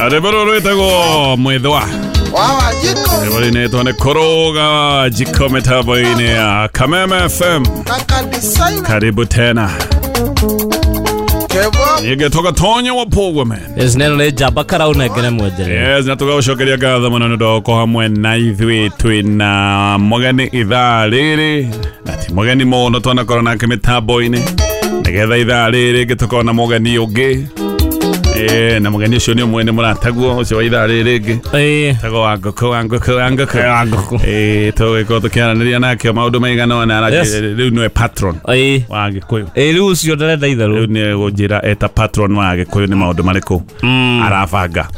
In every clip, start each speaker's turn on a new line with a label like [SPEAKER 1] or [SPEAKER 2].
[SPEAKER 1] Rwĩmbo rwĩtagwo Mwĩthwa. Rwĩmbo rũinĩtwo nĩ Kũrũga Jiko mĩtambo-inĩ ya Kameme FM. Karibu tena. Ningĩ tũgatonya wa Pogwa man.
[SPEAKER 2] Yes, neno nĩ njamba karaunengere mwenjere.
[SPEAKER 1] Yes, na tũgagũcokeria ngatho mũno nĩ ũndũ wa gũkorwo hamwe na ithuĩ. Twĩna mũgeni ithaa rĩrĩ, na ti mũgeni mũno twanakorwo nake mĩtambo-inĩ, nĩgetha ithaa rĩrĩ rĩngĩ tũkorwo na mũgeni ũngĩ. Na mũgeni ũcio nĩ ũmwe nĩ mũrataguo ũcio wa ithaa rĩrĩ rĩngĩ. Tagwo wa ngũkũ wa ngũkũ wa ngũkũ.
[SPEAKER 2] Wa ngũkũ.
[SPEAKER 1] Tũgĩkorwo tũkĩaranĩria nake maũndũ maigana ũna. Rĩu nĩwe patron wa Gĩkũyũ.
[SPEAKER 2] Rĩu ũcio ndarenda itherũ.
[SPEAKER 1] Rĩu nĩ gũnjĩra eta patron wa Gĩkũyũ nĩ maũndũ marĩkũ arabanga.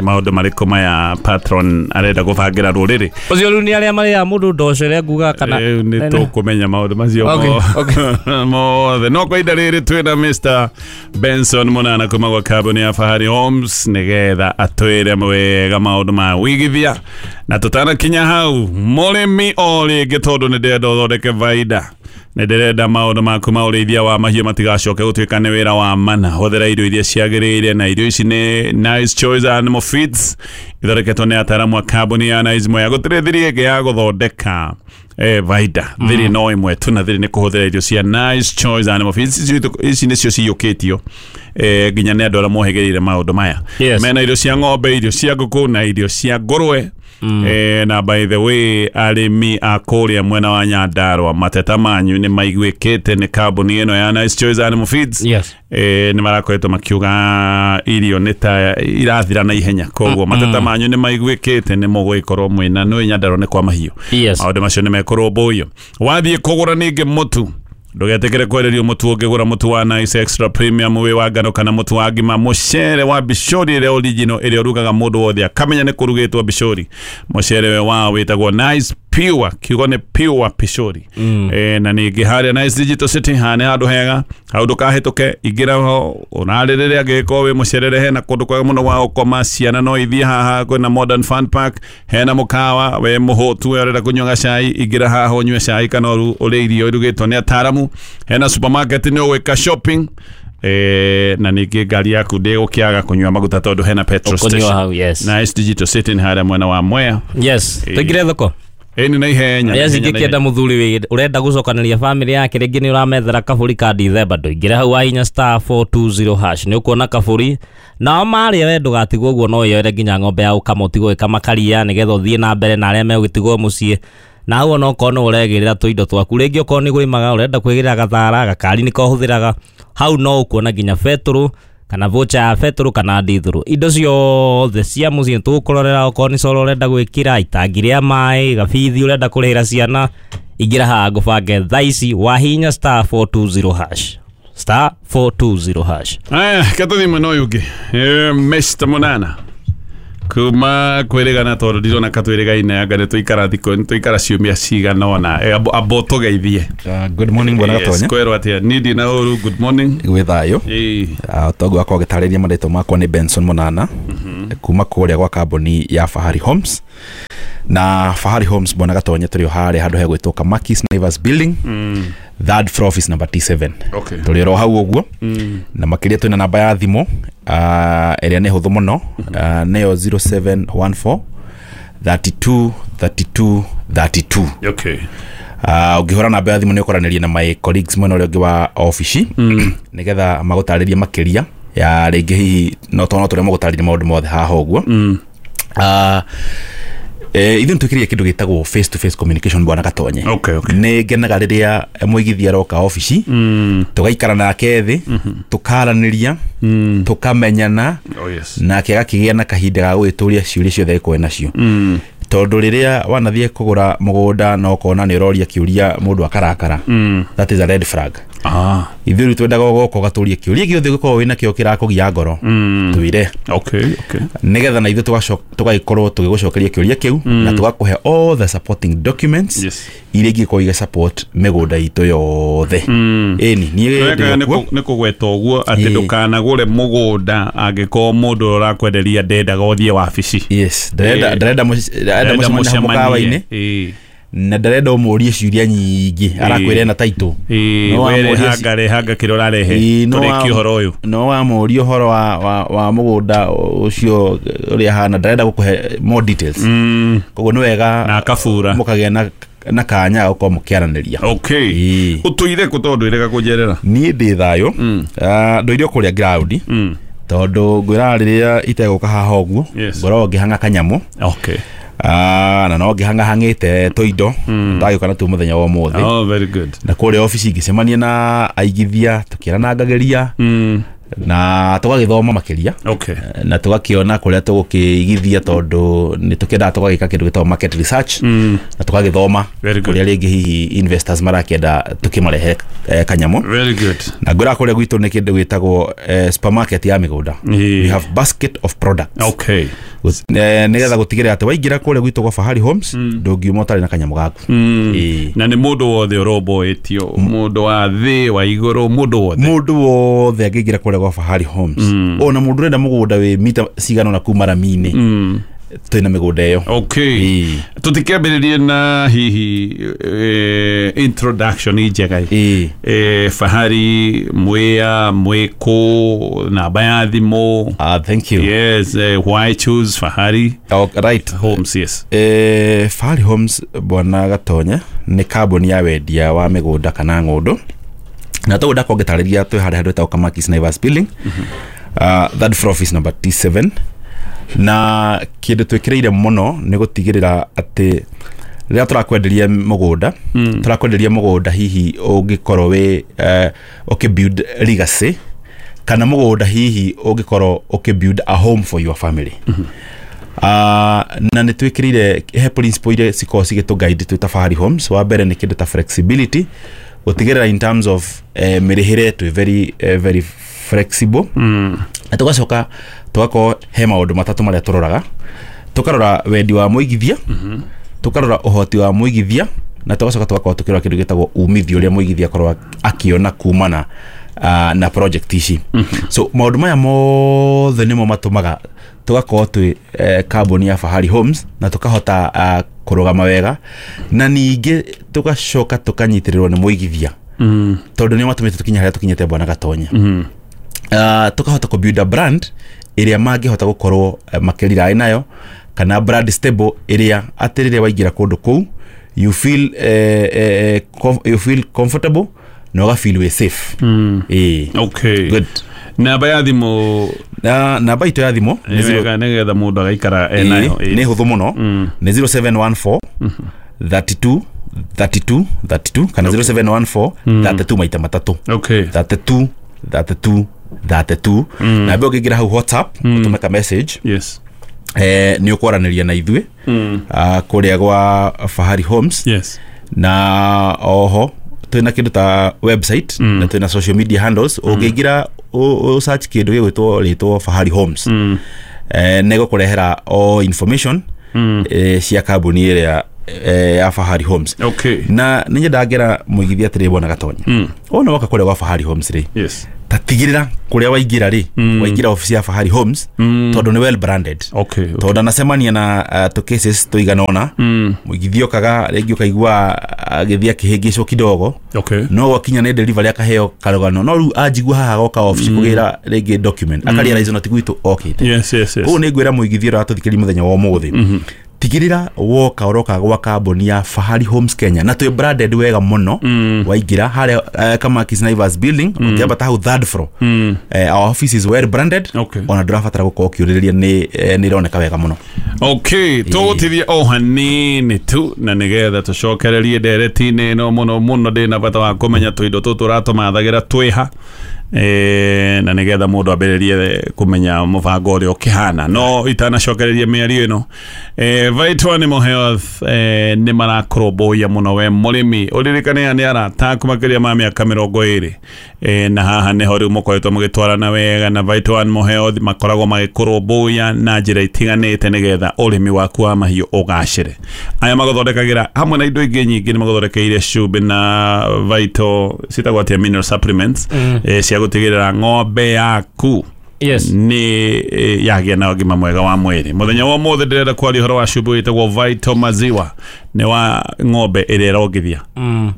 [SPEAKER 1] Maũndũ marĩkũ maya patron arenda gũbangĩra rũrĩrĩ.
[SPEAKER 2] Ũcio rĩu nĩ arĩa marĩaga mũndũ ndoco ĩrĩa nguga kana.
[SPEAKER 1] Rĩu nĩ tũkũmenya maũndũ macio mothe. No kwa ihinda rĩrĩ twĩna Mr. Benson Munana kuma gwa kambuni ya Fahari Homes nĩgetha atwĩre wega maũndũ ma wĩigithia. Na tũtanakinya hau, mũrĩmi o rĩngĩ, tondũ nĩ ndĩrenda ũthondeke baida, nĩ ndĩrenda maũndũ maku ma ũrĩithia wa mahiũ matigacoke gũtuĩka nĩ wĩra wa mana. Hũthĩra irio iria ciagĩrĩire, na irio ici nĩ Nice Choice Animal Feeds, ithondeketwo nĩ ataaramu a kambuni ya Nice Mwea. Gũtirĩ thiri ĩngĩ ya gũthondeka baida, thiri no ĩmwe tu, na thiri nĩ kũhũthĩra irio cia Nice Choice Animal Feeds. Ici nĩcio ciyũkĩtio nginya nĩ andũ arĩa mohĩgĩrĩire maũndũ maya. Mena irio cia ng'ombe, irio cia ngũkũ na irio cia ngũrwe. Na by the way, arĩmi a kũrĩa mwena wa Nyandarua, mateta manyu nĩ maiguĩkĩte nĩ kambuni ĩno ya Nice Choice Animal Feeds. Nĩ marakoretwo makiuga irio nĩ ta irathira na ihenya, koguo mateta manyu nĩ maiguĩkĩte, nĩ mũgũgĩkorwo mwĩna nĩ Nyandarua nĩ kwa mahiũ. Maũndũ macio nĩ mekũrũmbũiyo. Wathiĩ kũgũra ningĩ mũtu, ndũgetĩkĩre kwenderio mũtu. Ũngĩgũra mũtu wa Nice Extra Premium wĩ wa ngano kana mũtu wa ngima, mũcere wa bishori ĩrĩa original ĩrĩa ũrugaga mũndũ wothe akamenya nĩ kũrugĩtwo bishori, mũcere we wao wĩtagwo Nice Pure, kiugo nĩ Pure Pishori. Na ningĩ harĩa Nice Digital City, haha nĩ handũ hega, hau ndũkahĩtũke, ingĩra ho ũnarĩrĩre angĩgĩkorwo wĩ mũcerere. Hena kũndũ kwega mũno gwa gũkoma, ciana no ithiĩ haha, kwĩna Modern Fun Park, hena mũkawa, we mũhũtu we ũrenda kũnyua gacai, ingĩra haha ũnyue cai kana ũrĩe irio irugĩtwo nĩ ataaramu. Hena supermarket nĩ ũgwĩka shopping. Na ningĩ ngari yaku ndĩgũkĩaga kũnyua maguta tondũ hena petrol station. Nice Digital City nĩ harĩa mwena wa Mwea.
[SPEAKER 2] Tũingĩre thoko.
[SPEAKER 1] Ĩni na ihenya.
[SPEAKER 2] Yes, ingĩkĩenda mũthuri ũrenda gũcokanĩria family yake, rĩngĩ nĩ ũramethera kabũri ka Dithemba, ndũingĩre hau wahinya *420# nĩ ũkuona kabũri. Nao marĩa we ndũgatigwo ũguo, no wĩyoere nginya ng'ombe ya gũkama ũtigwo ĩkamakaria nĩgetha ũthiĩ na mbere na arĩa megũgĩtigwo mũciĩ. Na hau ona okorwo nĩ ũregĩrĩra tũindo twaku, rĩngĩ okorwo nĩ kũrĩmaga ũrenda kwĩgĩrĩra gathara, gakari nĩko ũhũthĩraga, hau no ũkuona nginya betũrũ kana voucher ya betũrũ kana ndithũrũ. Indo ciothe cia mũciĩ tũgũkũrorera, okorwo nĩ coro ũrenda gwĩkĩra, itangi rĩa maĩ, gabithi ũrenda kũrĩhĩra ciana, ingĩra haha ngũbange thaa ici wahinya *420#. *420#.
[SPEAKER 1] Aya, katũthiĩ mwena ũyũ ũngĩ. Mr. Munana kuma kwĩrĩgana, tondũ ndirona katwĩrĩgaine, anga nĩ tũikara thikũ, nĩ tũikara ciumia cigana ũna. Amba ũtũgeithie.
[SPEAKER 3] Good morning bwana Gatonya.
[SPEAKER 1] Kwĩrwo atĩa? Niĩ ndĩ na ũru. Good morning.
[SPEAKER 3] Gwĩ thayũ. Toguo akorwo agĩtarĩria marĩtwa makwa nĩ Benson Munana kuma kũrĩa gwa kambuni ya Fahari Homes. Na Fahari Homes bwana Gatonya tũrĩ o harĩa handũ hegwĩtwo Kamakis Naivas Building, third floor, office number T7. Tũrĩ oro hau ũguo. Na makĩria twĩna namba ya thimũ ĩrĩa nĩ hũthũ mũno, nĩyo 0714 32 32 32. Ũngĩhũra namba ya thimũ nĩ ũkoranĩria na my colleagues mwena ũrĩa ũngĩ wa obici, nĩgetha magũtarĩrie makĩria ya rĩngĩ hihi no tondũ tũrĩa magũtarĩria maũndũ mothe haha ũguo. Ithuĩ nĩtwĩkĩrire kĩndũ gĩtagwo face to face communication bwana Gatonye. Nĩ ngenaga rĩrĩa mũigithia aroka obici, tũgaikara nake thĩ, tũkaranĩria, tũkamenyana, nake agakĩgĩa na kahinda ga gũgĩtũria ciũria ciothe angĩkorwo nacio. Tondũ rĩrĩa wanathiĩ kũgũra mũgũnda na ũkona nĩ ũroria kĩũria mũndũ akarakara, that is a red flag. Ithuĩ rĩu twendaga ũgoka ũgatũria kĩũria gĩothe ũngĩkorwo wĩna kĩo kĩrakũgia ngoro, twĩre. Nĩgetha na ithuĩ tũgagĩkorwo tũgĩgũcokeria kĩũria kĩu, na tũgakũhe all the supporting documents iria ingĩkorwo igĩ support mĩgũnda itũ yothe. Ĩni niĩ
[SPEAKER 1] nĩ kũgweta ũguo atĩ ndũkanagũre mũgũnda angĩkorwo mũndũ ũrakwenderia ndendaga ũthiĩ wabici.
[SPEAKER 3] Yes, ndarenda mũcemanie mũkawa-inĩ. Na ndarenda ũmũrie ciũria nyingĩ, arakwĩra na title.
[SPEAKER 1] Hanga rehanga kĩrĩa ũrarehe tũrĩkie ũhoro ũyũ.
[SPEAKER 3] No wamũria ũhoro wa mũgũnda ũcio ũrĩa hana, ndarenda gũkũhe more details. Koguo nĩ wega
[SPEAKER 1] na akabura
[SPEAKER 3] mũkagĩa na kanya gũkorwo mũkĩaranĩria.
[SPEAKER 1] Okay, ũtũire kũ tondũ ndwĩrega kũnjerera?
[SPEAKER 3] Niĩ ndĩ thayũ, ndũire kũrĩa ground, tondũ ngwĩraga rĩrĩa itegũka haha ũguo ngoragwo ngĩhang'a kanyamũ.
[SPEAKER 1] Okay.
[SPEAKER 3] Na no ngĩhang'ahang'ĩte tũindo ndagĩũka natuo mũthenya wa ũmũthĩ.
[SPEAKER 1] Oh, very good.
[SPEAKER 3] Na kũrĩa obici ngĩcemania na aigithia tũkĩaranangagĩria na tũgagĩthoma makĩria.
[SPEAKER 1] Okay.
[SPEAKER 3] Na tũgakĩona kũrĩa tũgũkĩigithia tondũ nĩ tũkĩendaga tũgagĩka kĩndũ gĩtagwo market research, na tũgagĩthoma kũrĩa rĩngĩ hihi investors marakĩenda tũkĩmarehe kanyamũ.
[SPEAKER 1] Very good.
[SPEAKER 3] Na ngwĩra kũrĩa gwitũ nĩ kĩndũ gĩtagwo supermarket ya mĩgũnda. We have basket of products.
[SPEAKER 1] Okay.
[SPEAKER 3] Nĩgetha gũtigĩrĩra atĩ waingĩra kũrĩa gwitũ gwa Fahari Homes ndũngiuma ũtarĩ na kanyamũ gaku.
[SPEAKER 1] Na nĩ mũndũ wothe ũromboĩtio, mũndũ wa thĩ wa igũrũ, mũndũ wothe.
[SPEAKER 3] Mũndũ wothe angĩingĩra kũrĩa gwa Fahari Homes, ona mũndũ ũrenda mũgũnda wĩ mita cigana ũna kuma rami-inĩ, twĩna mĩgũnda ĩyo.
[SPEAKER 1] Okay. Tũtikĩambĩrĩrie na hihi introduction njega. Fahari mwea mwĩkũ, namba ya thimũ.
[SPEAKER 3] Thank you.
[SPEAKER 1] Yes, why choose Fahari?
[SPEAKER 3] Oh, right.
[SPEAKER 1] Homes, yes.
[SPEAKER 3] Fahari Homes bwana Gatonye nĩ kambuni ya wendia wa mĩgũnda kana ng'ũndũ. Na tũgũnda kũngĩtarĩria twĩ harĩa handũ hetagwo Kamakis Naivas Building, third floor office number T7. Na kĩndũ twĩkĩrĩire mũno nĩ gũtigĩrĩra atĩ rĩrĩa tũrakwenderia mũgũnda, tũrakwenderia mũgũnda hihi ũngĩkorwo wĩ ũkĩ build legacy, kana mũgũnda hihi ũngĩkorwo ũkĩ build a home for your family. Na nĩ twĩkĩrĩire he principle iria cikoragwo cigĩtũ guide twĩ ta Fahari Homes. Wa mbere nĩ kĩndũ ta flexibility, gũtigĩrĩra in terms of mĩrĩhĩre twĩ very very flexible. Na tũgacoka tũgakorwo he maũndũ matatũ marĩa tũroraga. Tũkarora wendi wa mũigithia, tũkarora ũhoti wa mũigithia, na tũgacoka tũgakorwo tũkĩrora kĩndũ gĩtagwo umithio ũrĩa mũigithia akorwo akĩona kumana na project ici. So maũndũ maya mothe nĩmo matũmaga tũgakorwo twĩ kambuni ya Fahari Homes na tũkahota kũrũgama wega, na ningĩ tũgacoka tũkanyitĩrĩrwo nĩ mũigithia, tondũ nĩo matũmĩte tũkinye harĩa tũkinyĩte bwana Gatonye. Tũkahota kũ build a brand ĩrĩa mangĩhota gũkorwo makĩrira nayo, kana brand stable ĩrĩa atĩ rĩrĩa waingĩra kũndũ kũu you feel you feel comfortable na ũga feel we safe.
[SPEAKER 1] Okay.
[SPEAKER 3] Good.
[SPEAKER 1] Namba ya thimũ.
[SPEAKER 3] Na namba itũ ya thimũ
[SPEAKER 1] nĩgetha mũndũ agaikara nayo
[SPEAKER 3] nĩ hũthũ mũno, nĩ 0714 32 32 32 kana 0714 32 maita matatũ.
[SPEAKER 1] Okay.
[SPEAKER 3] 32 32 32. Na mbere ũngĩingĩra hau WhatsApp ũtũme ka message.
[SPEAKER 1] Yes.
[SPEAKER 3] Nĩ ũkwaranĩria na ithuĩ kũrĩa gwa Fahari Homes.
[SPEAKER 1] Yes.
[SPEAKER 3] Na oho twĩna kĩndũ ta website na twĩna social media handles. Ũngĩingĩra search kĩndũ gĩgwĩtwo rĩtwo Fahari Homes, nĩ gũkũrehera all information cia kambuni ĩrĩa ya Fahari Homes.
[SPEAKER 1] Okay.
[SPEAKER 3] Na nĩ nyendaga ngera mũigithia atĩrĩ bwana Gatonye, ona woka kũrĩa gwa Fahari Homes rĩ,
[SPEAKER 1] yes,
[SPEAKER 3] tatigĩrĩra kũrĩa waingĩra rĩ, waingĩra obici ya Fahari Homes, tondũ nĩ well branded.
[SPEAKER 1] Okay, okay.
[SPEAKER 3] Tondũ anacemania na tũ cases tũigana ũna, mũigithia okaga rĩngĩ ũkaigua agĩthiĩ akĩhĩngĩcwo kidogo.
[SPEAKER 1] Okay.
[SPEAKER 3] No gwakinya nĩ delivery akaheo karũgano, no rĩu anjigua haha goka obici kũgĩra rĩngĩ document, akarealize ona ti gwitũ okĩte.
[SPEAKER 1] Yes, yes, yes.
[SPEAKER 3] Koguo nĩ ngwĩra mũigithia ũrĩa watũthikĩrĩria mũthenya wa ũmũthĩ, tigĩrĩra woka ũroka gwa kambuni ya Fahari Homes Kenya, na twĩ branded wega mũno. Waingĩra harĩa Kamakis Naivas Building, ũkĩambata hau third floor, our office is well branded.
[SPEAKER 1] Okay.
[SPEAKER 3] Ona ndũrabatara gũkorwo ũkĩũrĩrĩria, nĩ ĩroneka wega mũno.
[SPEAKER 1] Okay, tũgũtithie o hanini tu na nĩgetha tũcokererie ndereti-inĩ ĩno mũno mũno. Ndĩna bata wa kũmenya tũindo tũtũ ũratũmathagĩra twĩha, na nĩgetha mũndũ ambĩrĩrie kũmenya mũbango ũrĩa ũkĩhana. No itanacokereria mĩario ĩno, Vital Animal Health nĩ marakũrũmbũiya mũno we mũrĩmi. Ũririkane aya nĩ arata aku makĩria ma mĩaka 20, na haha nĩho rĩu mũkoretwo mũgĩtwarana wega na Vital Animal Health makoragwo magĩkũrũmbũiya na njĩra itiganĩte nĩgetha ũrĩmi waku wa mahiũ ũgacĩre. Aya magũthondekagĩra hamwe na indo ingĩ nyingĩ, nĩ magũthondekeire cumbĩ na Vital citagwo atĩa, mineral supplements, cia gũtigĩrĩra ng'ombe yaku
[SPEAKER 2] Yes.
[SPEAKER 1] Nĩ yagĩa na ũgima mwega wa mwĩrĩ. Mũthenya wa ũmũthĩ ndĩrenda kwaria ũhoro wa cumbĩ wĩtagwo Vital Maziwa, nĩ wa ng'ombe ĩrĩa ĩrongithia.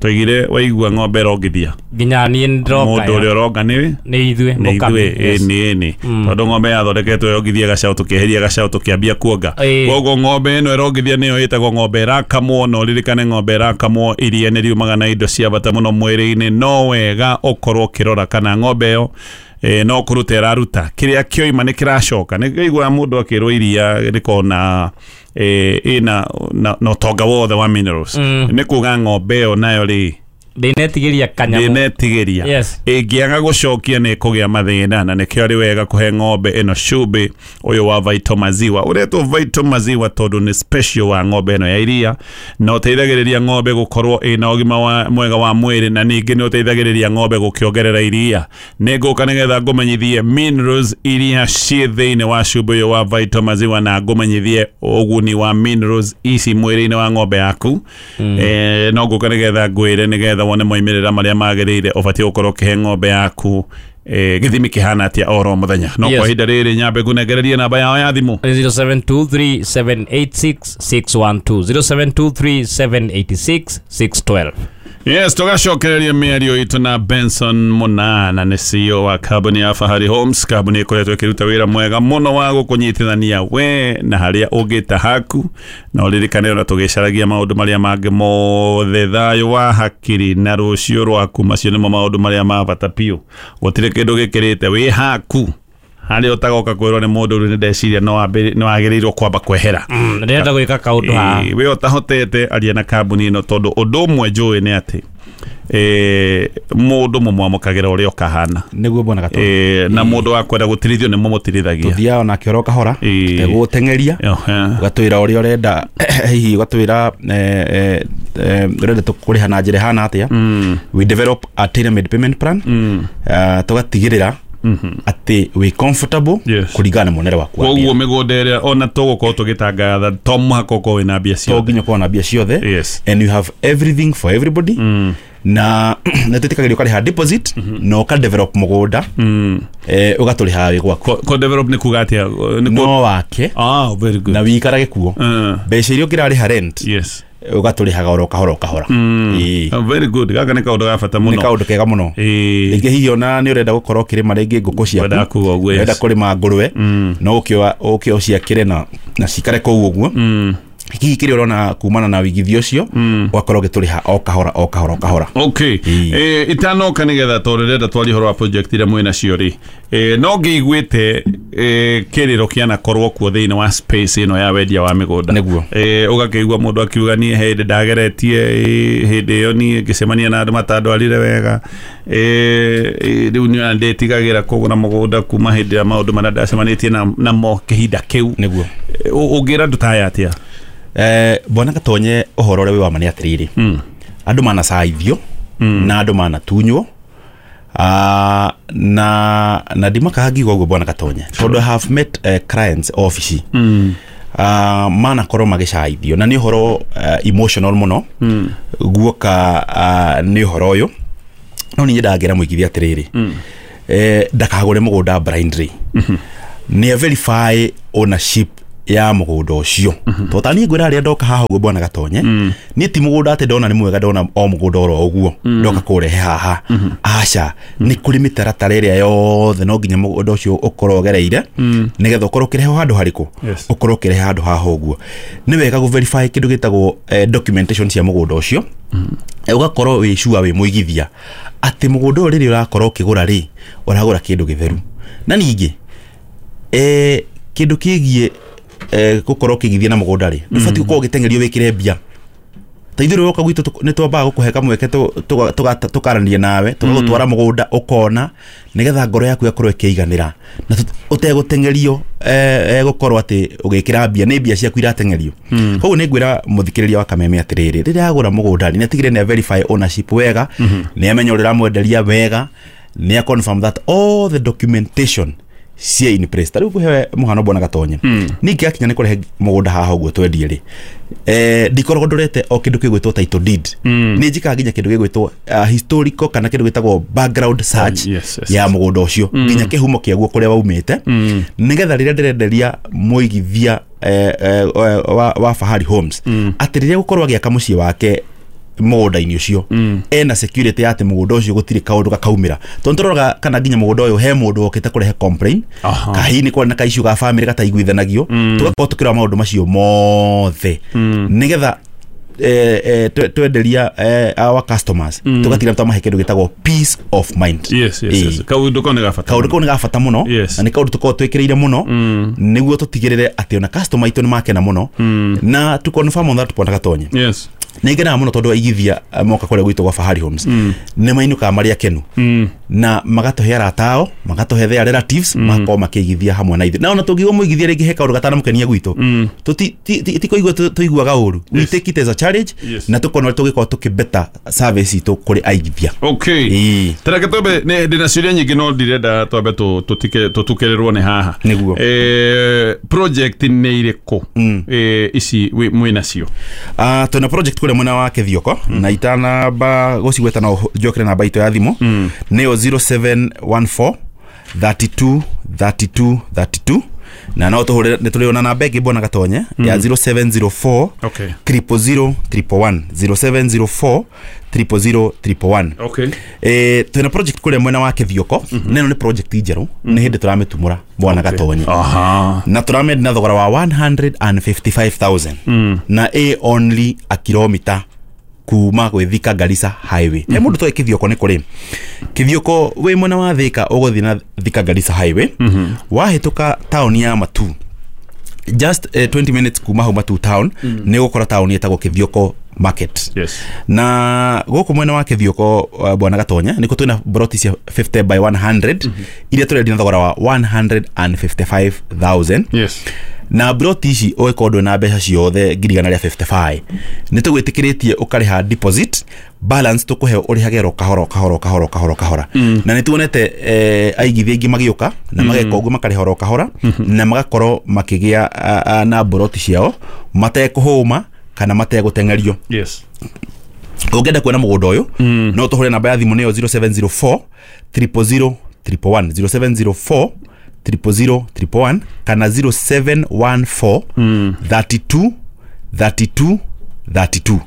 [SPEAKER 1] Twaigire waigua ng'ombe ĩrongithia,
[SPEAKER 2] Nginya niĩ ndĩroka.
[SPEAKER 1] Mũndũ ũrĩa ũronga nĩ
[SPEAKER 2] Nĩ ithuĩ.
[SPEAKER 1] Nĩ
[SPEAKER 2] Mũkami.
[SPEAKER 1] ithuĩ.
[SPEAKER 2] Yes.
[SPEAKER 1] Ĩni ĩni, tondũ ng'ombe yathondeketwo yongithie gacaũ, tũkĩeheria gacaũ tũkĩambia kuonga. Koguo ng'ombe ĩno ĩrongithia nĩyo ĩtagwo ng'ombe ĩrakamwo. Na ũririkane ng'ombe ĩrakamwo iria nĩ riumaga na indo cia bata mũno mwĩrĩ-inĩ. No wega ũkorwo ũkĩrora kana ng'ombe ĩyo no kũruta ĩraruta, kĩrĩa kĩoima nĩ kĩracoka. Nĩ kĩiguaga mũndũ akĩrwo iria rĩkorwo na ĩna na ũtonga wothe wa minerals, nĩ kuga ng'ombe ĩyo nayo rĩ
[SPEAKER 2] Ndĩnetigĩria kanyamũ.
[SPEAKER 1] Ndĩnetigĩria.
[SPEAKER 2] Yes.
[SPEAKER 1] Ĩngĩaga gũcokia nĩ ĩkũgĩa mathĩna, na nĩkĩo arĩ wega kũhe ng'ombe ĩno cumbĩ ũyũ wa Vital Maziwa. Ũretwo Vital Maziwa tondũ nĩ special wa ng'ombe ĩno ya iria, na ũteithagĩrĩria ng'ombe gũkorwo ĩna ũgima mwega wa mwĩrĩ, na ningĩ nĩ ũteithagĩrĩria ng'ombe gũkĩongerera iria. Nĩ ngũka nĩgetha ngũmenyithie minerals iria ciĩ thĩinĩ wa cumbĩ ũyũ wa Vital Maziwa, na ngũmenyithie ũguni wa minerals ici mwĩrĩ-inĩ wa ng'ombe yaku. No ngũka nĩgetha ngwĩre nĩgetha wone moimĩrĩra marĩa magĩrĩire ũbatiĩ gũkorwo ũkĩhe ng'ombe yaku gĩthimi kĩhana atĩa oro mũthenya. No
[SPEAKER 2] Yes.
[SPEAKER 1] kwa ihinda rĩrĩ nyambe ngũnengererie namba yao ya thimũ.
[SPEAKER 2] 0723786612, 0723786612.
[SPEAKER 1] Yes, tũgacokereria mĩario itũ na Benson Munana, nĩ CEO wa kambuni ya Fahari Homes, kambuni ĩkoretwo ĩkĩruta wĩra mwega mũno wa gũkũnyitithania we na harĩa ũngĩta haku. Na ũririkane ona tũgĩcaragia maũndũ marĩa mangĩ mothe, thayũ wa hakiri na rũciũ rwaku, macio nĩmo maũndũ marĩa ma bata biũ. Gũtirĩ kĩndũ gĩkĩrĩte wĩ haku harĩa ũtagoka kwĩrwo nĩ mũndũ rĩu nĩ ndeciria no wagĩrĩirwo kwamba kwehera.
[SPEAKER 2] Ndĩrenda gwĩka kaũndũ haha.
[SPEAKER 1] We ũtahotete, aria na kambuni ĩno, tondũ ũndũ ũmwe njũĩ nĩ atĩ mũndũ mũmwamũkagĩra ũrĩa ũkahana.
[SPEAKER 3] Nĩguo bwana Gatonye.
[SPEAKER 1] Na mũndũ wa kwenda gũtirithio nĩ mũmũtirithagia.
[SPEAKER 3] Tũthiaga onake oro kahora, tũtegũgũteng'eria. Ũgatwĩra ũrĩa ũrenda, hihi ũgatwĩra ũrenda tũkũrĩha na njĩra ĩhana atĩa. We develop a tailor made payment plan, tũgatigĩrĩra atĩ wĩ comfortable
[SPEAKER 1] Yes.
[SPEAKER 3] kũringana na muonere waku wa
[SPEAKER 1] Koguo
[SPEAKER 3] mbia.
[SPEAKER 1] mĩgũnda ĩrĩa ona tũgũkorwo tũgĩtangatha to mũhaka ũkorwo wĩna mbia
[SPEAKER 3] To
[SPEAKER 1] ciothe.
[SPEAKER 3] nginya ũkorwo na mbia ciothe.
[SPEAKER 1] Yes.
[SPEAKER 3] And you have everything for everybody, na nĩ twĩtĩkagĩria ũkarĩha deposit na ũka develop mũgũnda, ũgatũrĩhaga wĩ gwaku.
[SPEAKER 1] Ko develop nĩ kuga atĩa?
[SPEAKER 3] No wake.
[SPEAKER 1] Ah, very good.
[SPEAKER 3] Na wĩikarage kuo. Mbeca iria ũngĩrarĩha rent,
[SPEAKER 1] Yes.
[SPEAKER 3] ũgatũrĩhaga oro kahora o kahora. Ĩĩ.
[SPEAKER 1] Ah, very good. Gaka nĩ kaũndũ ga bata
[SPEAKER 3] Nĩ
[SPEAKER 1] mũno.
[SPEAKER 3] kaũndũ kega mũno. Rĩngĩ hihi ona nĩ ũrenda gũkorwo ũkĩrĩma rĩngĩ ngũkũ ciaku,
[SPEAKER 1] Ngwendaga kuga ũguo, yes.
[SPEAKER 3] ũrenda kũrĩma ngũrwe, no ũke ũciakĩre na cikare kũu ũguo. Hihi kĩrĩa ũrona kumana na wĩigithio ũcio, ũgakorwo ũgĩtũrĩha o kahora o kahora o kahora.
[SPEAKER 1] Okay.
[SPEAKER 3] Ĩĩ.
[SPEAKER 1] Itanoka nĩgetha tondũ ndĩrenda twarie ũhoro wa project iria mwĩ nacio rĩ, no ngĩiguĩte kĩrĩro kĩanakorwo kuo thĩinĩ wa space ĩno ya wendia wa mĩgũnda.
[SPEAKER 3] Nĩguo.
[SPEAKER 1] Ũgakĩigua mũndũ akiuga niĩ hĩndĩ ndageretie, hĩndĩ ĩyo niĩ ngĩcemania na andũ matandwarire wega, rĩu niĩ ndĩtigagĩra kũgũra mũgũnda kuma hĩndĩ ya maũndũ marĩa ndacemanĩtie namo kĩhinda kĩu.
[SPEAKER 3] Nĩguo.
[SPEAKER 1] Ũngĩra andũ ta aya atĩa?
[SPEAKER 3] Bwana Gatonye, ũhoro ũrĩa wĩ wa ma nĩ atĩrĩrĩ, andũ manacaithio na andũ manatunywo, na ndimakaga ngiuga ũguo bwana Gatonye, tondũ I have met clients ofici manakorwo magĩcaithio, na nĩ ũhoro emotional mũno guoka, nĩ ũhoro ũyũ. No niĩ nyendaga ngĩra mũigithia atĩrĩrĩ, ndakagũre mũgũnda blindly, nĩ verify ownership ya mũgũnda ũcio, tondũ ta niĩ ngwĩra arĩa ndoka haha ũguo bwana Gatonye, niĩ ti mũgũnda atĩ ndona nĩ mwega, ndona o mũgũnda oro ũguo ndoka kũrehe haha. Aca, nĩ kũrĩ mĩtaratara ĩrĩa yothe no nginya mũgũnda ũcio ũkorwo ũgereire nĩgetha ũkorwo ũkĩrehwo handũ harĩkũ.
[SPEAKER 1] Yes.
[SPEAKER 3] Ũkorwo ũkĩrehe handũ haha ũguo, nĩ wega gũ verify kĩndũ gĩtagwo documentation cia mũgũnda ũcio. Ũgakorwo wĩ sure wĩ mũigithia atĩ mũgũnda ũyũ rĩrĩa ũrakorwo ũkĩgũra rĩ, ũragũra kĩndũ gĩtheru. Na ningĩ kĩndũ kĩgiĩ gũkorwo ũkĩigithia na mũgũnda rĩ, ndũbatiĩ gũkorwo ũgĩteng'erio wĩkĩre mbia. Ta ithuĩ rĩrĩa woka gwitũ, nĩ twambaga gũkũhe kamweke tũkaranĩria nawe, tũgagũtwara mũgũnda ũkona, nĩgetha ngoro yaku ĩgakorwo ĩkĩiganĩra na ũtegũteng'erio gũkorwo atĩ ũgĩkĩra mbia, nĩ mbia ciaku irateng'erio. Koguo nĩ ngwĩra mũthikĩrĩria wa Kameme atĩrĩrĩ, rĩrĩa agũra mũgũnda rĩ, nĩ atigĩrĩre nĩ verify ownership wega, nĩ amenya ũrĩa ũramwenderia wega, nĩ a confirm that all the documentation cia in place. Ta rĩu ngũhe mũhano bwana Gatonye, ningĩ akinya nĩ kũrehe mũgũnda haha ũguo twendie rĩ, ndikoragwo ndorete o kĩndũ gĩgwĩtwo title deed, nĩ njikaga nginya kĩndũ gĩgwĩtwo historical kana kĩndũ gĩtagwo background search ya mũgũnda ũcio, nginya kĩhumo kĩaguo kũrĩa waumĩte, nĩgetha rĩrĩa ndĩrenderia mũigithia wa Fahari Homes atĩ rĩrĩa gũkorwo agĩaka mũciĩ wake mũgũnda-inĩ ũcio, ena security ya atĩ mũgũnda ũcio gũtirĩ kaũndũ gakaumĩra, tondũ tũroraga kana nginya mũgũnda ũyũ he mũndũ wokĩte kũrehe complain, kahihi nĩ kwarĩ na kaiciũ ga family gataiguithanagio, tũgakorwo tũkĩrora maũndũ macio mothe nĩgetha twenderia our customers tũgatiga twamahe kĩndũ gĩtagwo peace of mind.
[SPEAKER 1] Yes, yes, yes. Kaũndũ kau nĩ ga bata.
[SPEAKER 3] Kaũndũ kau nĩ ga bata mũno, na nĩ kaũndũ tũkoragwo twĩkĩrĩire mũno nĩguo tũtigĩrĩre atĩ ona customer aitũ nĩ makena mũno, na to confirm on that point Gatonye.
[SPEAKER 1] Yes.
[SPEAKER 3] Nĩ ngenaga mũno tondũ aigithia moka kũrĩa gwitũ gwa Fahari Homes nĩ mainũkaga marĩ akenu, na magatũhe arata ao, magatũhe their relatives, magakorwo makĩigithia hamwe na ithuĩ, na ona tũngiuga mũigithia rĩngĩ he kaũndũ gatanamũkenia gwitũ, ti kũigua tũiguaga ũru, we take it as a challenge, na tũkona ũrĩa tũngĩkorwo tũkĩbeta service itũ kũrĩ aigithia.
[SPEAKER 1] Okay. Tareke twambe, ndĩna ciũria nyingĩ no ndirenda twambe tũtukĩrĩrwo nĩ haha.
[SPEAKER 3] Nĩguo.
[SPEAKER 1] Project nĩ irĩkũ ici mwĩnacio?
[SPEAKER 3] Twĩna project kũrĩa mwena wa Kĩthioko, na itanamba gũcigweta no njokere namba itũ ya thimũ, nĩyo 0714 32 32 32, na no tũhũre nĩ tũrĩ ona namba ĩngĩ bwana Gatonye ya 0704 000 111, 0704 000 111.
[SPEAKER 1] Okay.
[SPEAKER 3] Twĩna project kũrĩa mwena wa Kĩthioko, na ĩno nĩ project njerũ, nĩ hĩndĩ tũramĩtumũra bwana Gatonye. Na tũramĩendia na thogora wa 155,000, na ĩ only a kilomita kuma gwĩ Thika Garissa Highway. He mũndũ toĩ Kĩthioko nĩ kũrĩ. Kĩthioko wĩ mwena wa Thika ũgũthiĩ na Thika Garissa Highway, wahĩtũka taũni ya Matu, just 20 minutes kuma hau Matu town, nĩ ũgũkora taũni ĩtagwo Kĩthioko Market.
[SPEAKER 1] Yes.
[SPEAKER 3] Na gũkũ mwena wa Kĩthioko bwana Gatonye nĩkuo twĩna broti cia 50 by 100 iria tũrendia na thogora wa 155,000.
[SPEAKER 1] Yes.
[SPEAKER 3] Na broti ici ũgĩkorwo ndwĩ na mbeca ciothe 155,000, nĩ tũgwĩtĩkĩrĩtie ũkarĩha deposit, balance tũkũhe ũrĩhage ro kahora kahora kahora kahora kahora. Na nĩ tuonete aigithia aingĩ magĩũka na mageka ũguo, makarĩha oro kahora, na magakorwo makĩgĩa na broti ciao matekũhũma kana mategũteng'erio.
[SPEAKER 1] Yes.
[SPEAKER 3] Ũngĩenda kuona mũgũnda ũyũ, no tũhũre namba ya thimũ nĩyo 0704 000 111, 0704 000 111 kana 0714 32 32 32.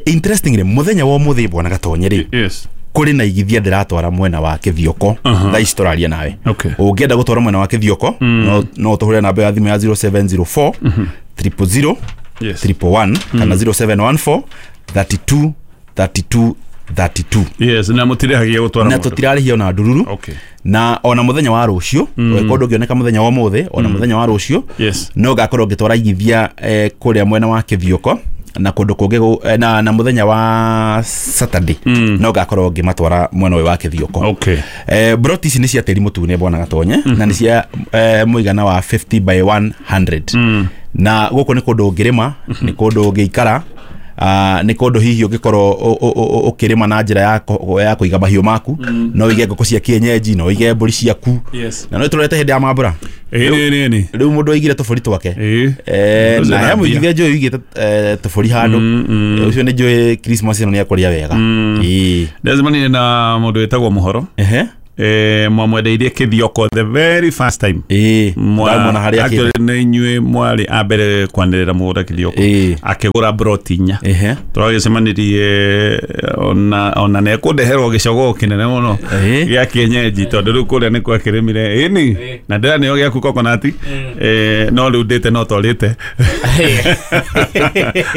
[SPEAKER 3] Interestingly, mũthenya wa ũmũthĩ bwana Gatonye rĩ,
[SPEAKER 1] Yes.
[SPEAKER 3] kũrĩ na igithia ndĩratwara mwena wa Kĩthioko, thaa ici tũraria nawe. Ũngĩenda gũtwara mwena wa Kĩthioko, no tũhũre namba ya thimũ ya 0704 000 111 kana 0714 32 32 32.
[SPEAKER 1] Yes, na mũtirĩhagia gũtwara
[SPEAKER 3] na tũtirarĩhia ona ndururu.
[SPEAKER 1] Okay.
[SPEAKER 3] Na ona mũthenya wa rũciũ, ũngĩkorwo ndũngĩoneka mũthenya wa ũmũthĩ, ona mũthenya wa rũciũ,
[SPEAKER 1] Yes.
[SPEAKER 3] no ngakorwo ngĩtwara igithia kũrĩa mwena wa Kĩthioko na kũndũ kũngĩ, na mũthenya wa Saturday no ngakorwo ngĩmatwara mwena ũyũ wa Kĩthioko.
[SPEAKER 1] Okay.
[SPEAKER 3] Broti ici nĩ cia tĩri mũtune bwana Gatonye, na nĩ cia mũigana wa 50 by 100. Na gũkũ nĩ kũndũ ũngĩrĩma, nĩ kũndũ ũngĩikara, nĩ kũndũ hihi ũngĩkorwo ũkĩrĩma na njĩra ya kũiga mahiũ maku, no ũige ngũkũ cia kienyeji, no ũige mbũri ciaku.
[SPEAKER 1] Yes.
[SPEAKER 3] Na no tũrorete hĩndĩ ya mambũra.
[SPEAKER 1] Ĩĩ.
[SPEAKER 3] Rĩu mũndũ aigire tũbũri twake. Na he mũigithia njũĩ ũigĩte tũbũri handũ. Ũcio nĩ njũĩ Christmas ĩno nĩ ekũrĩa wega.
[SPEAKER 1] Ndacemanirie na mũndũ wĩtagwo Mũhoro. Mwamwendeirie Kĩthioko the very first time.
[SPEAKER 3] Ndamwona harĩa
[SPEAKER 1] actually nĩ inyuĩ mwarĩ a mbere kwanĩrĩra mũgũnda Kĩthioko, akĩgũra broti inya. Tũragĩcemanirie ona nĩ ekũndeherwo gĩcogoo kĩnene mũno gĩa kienyeji, tondũ rĩu kũrĩa nĩkuo akĩrĩmire. Ĩni na ndĩranĩo gĩaku coconut, no rĩu ndĩte no twarĩte.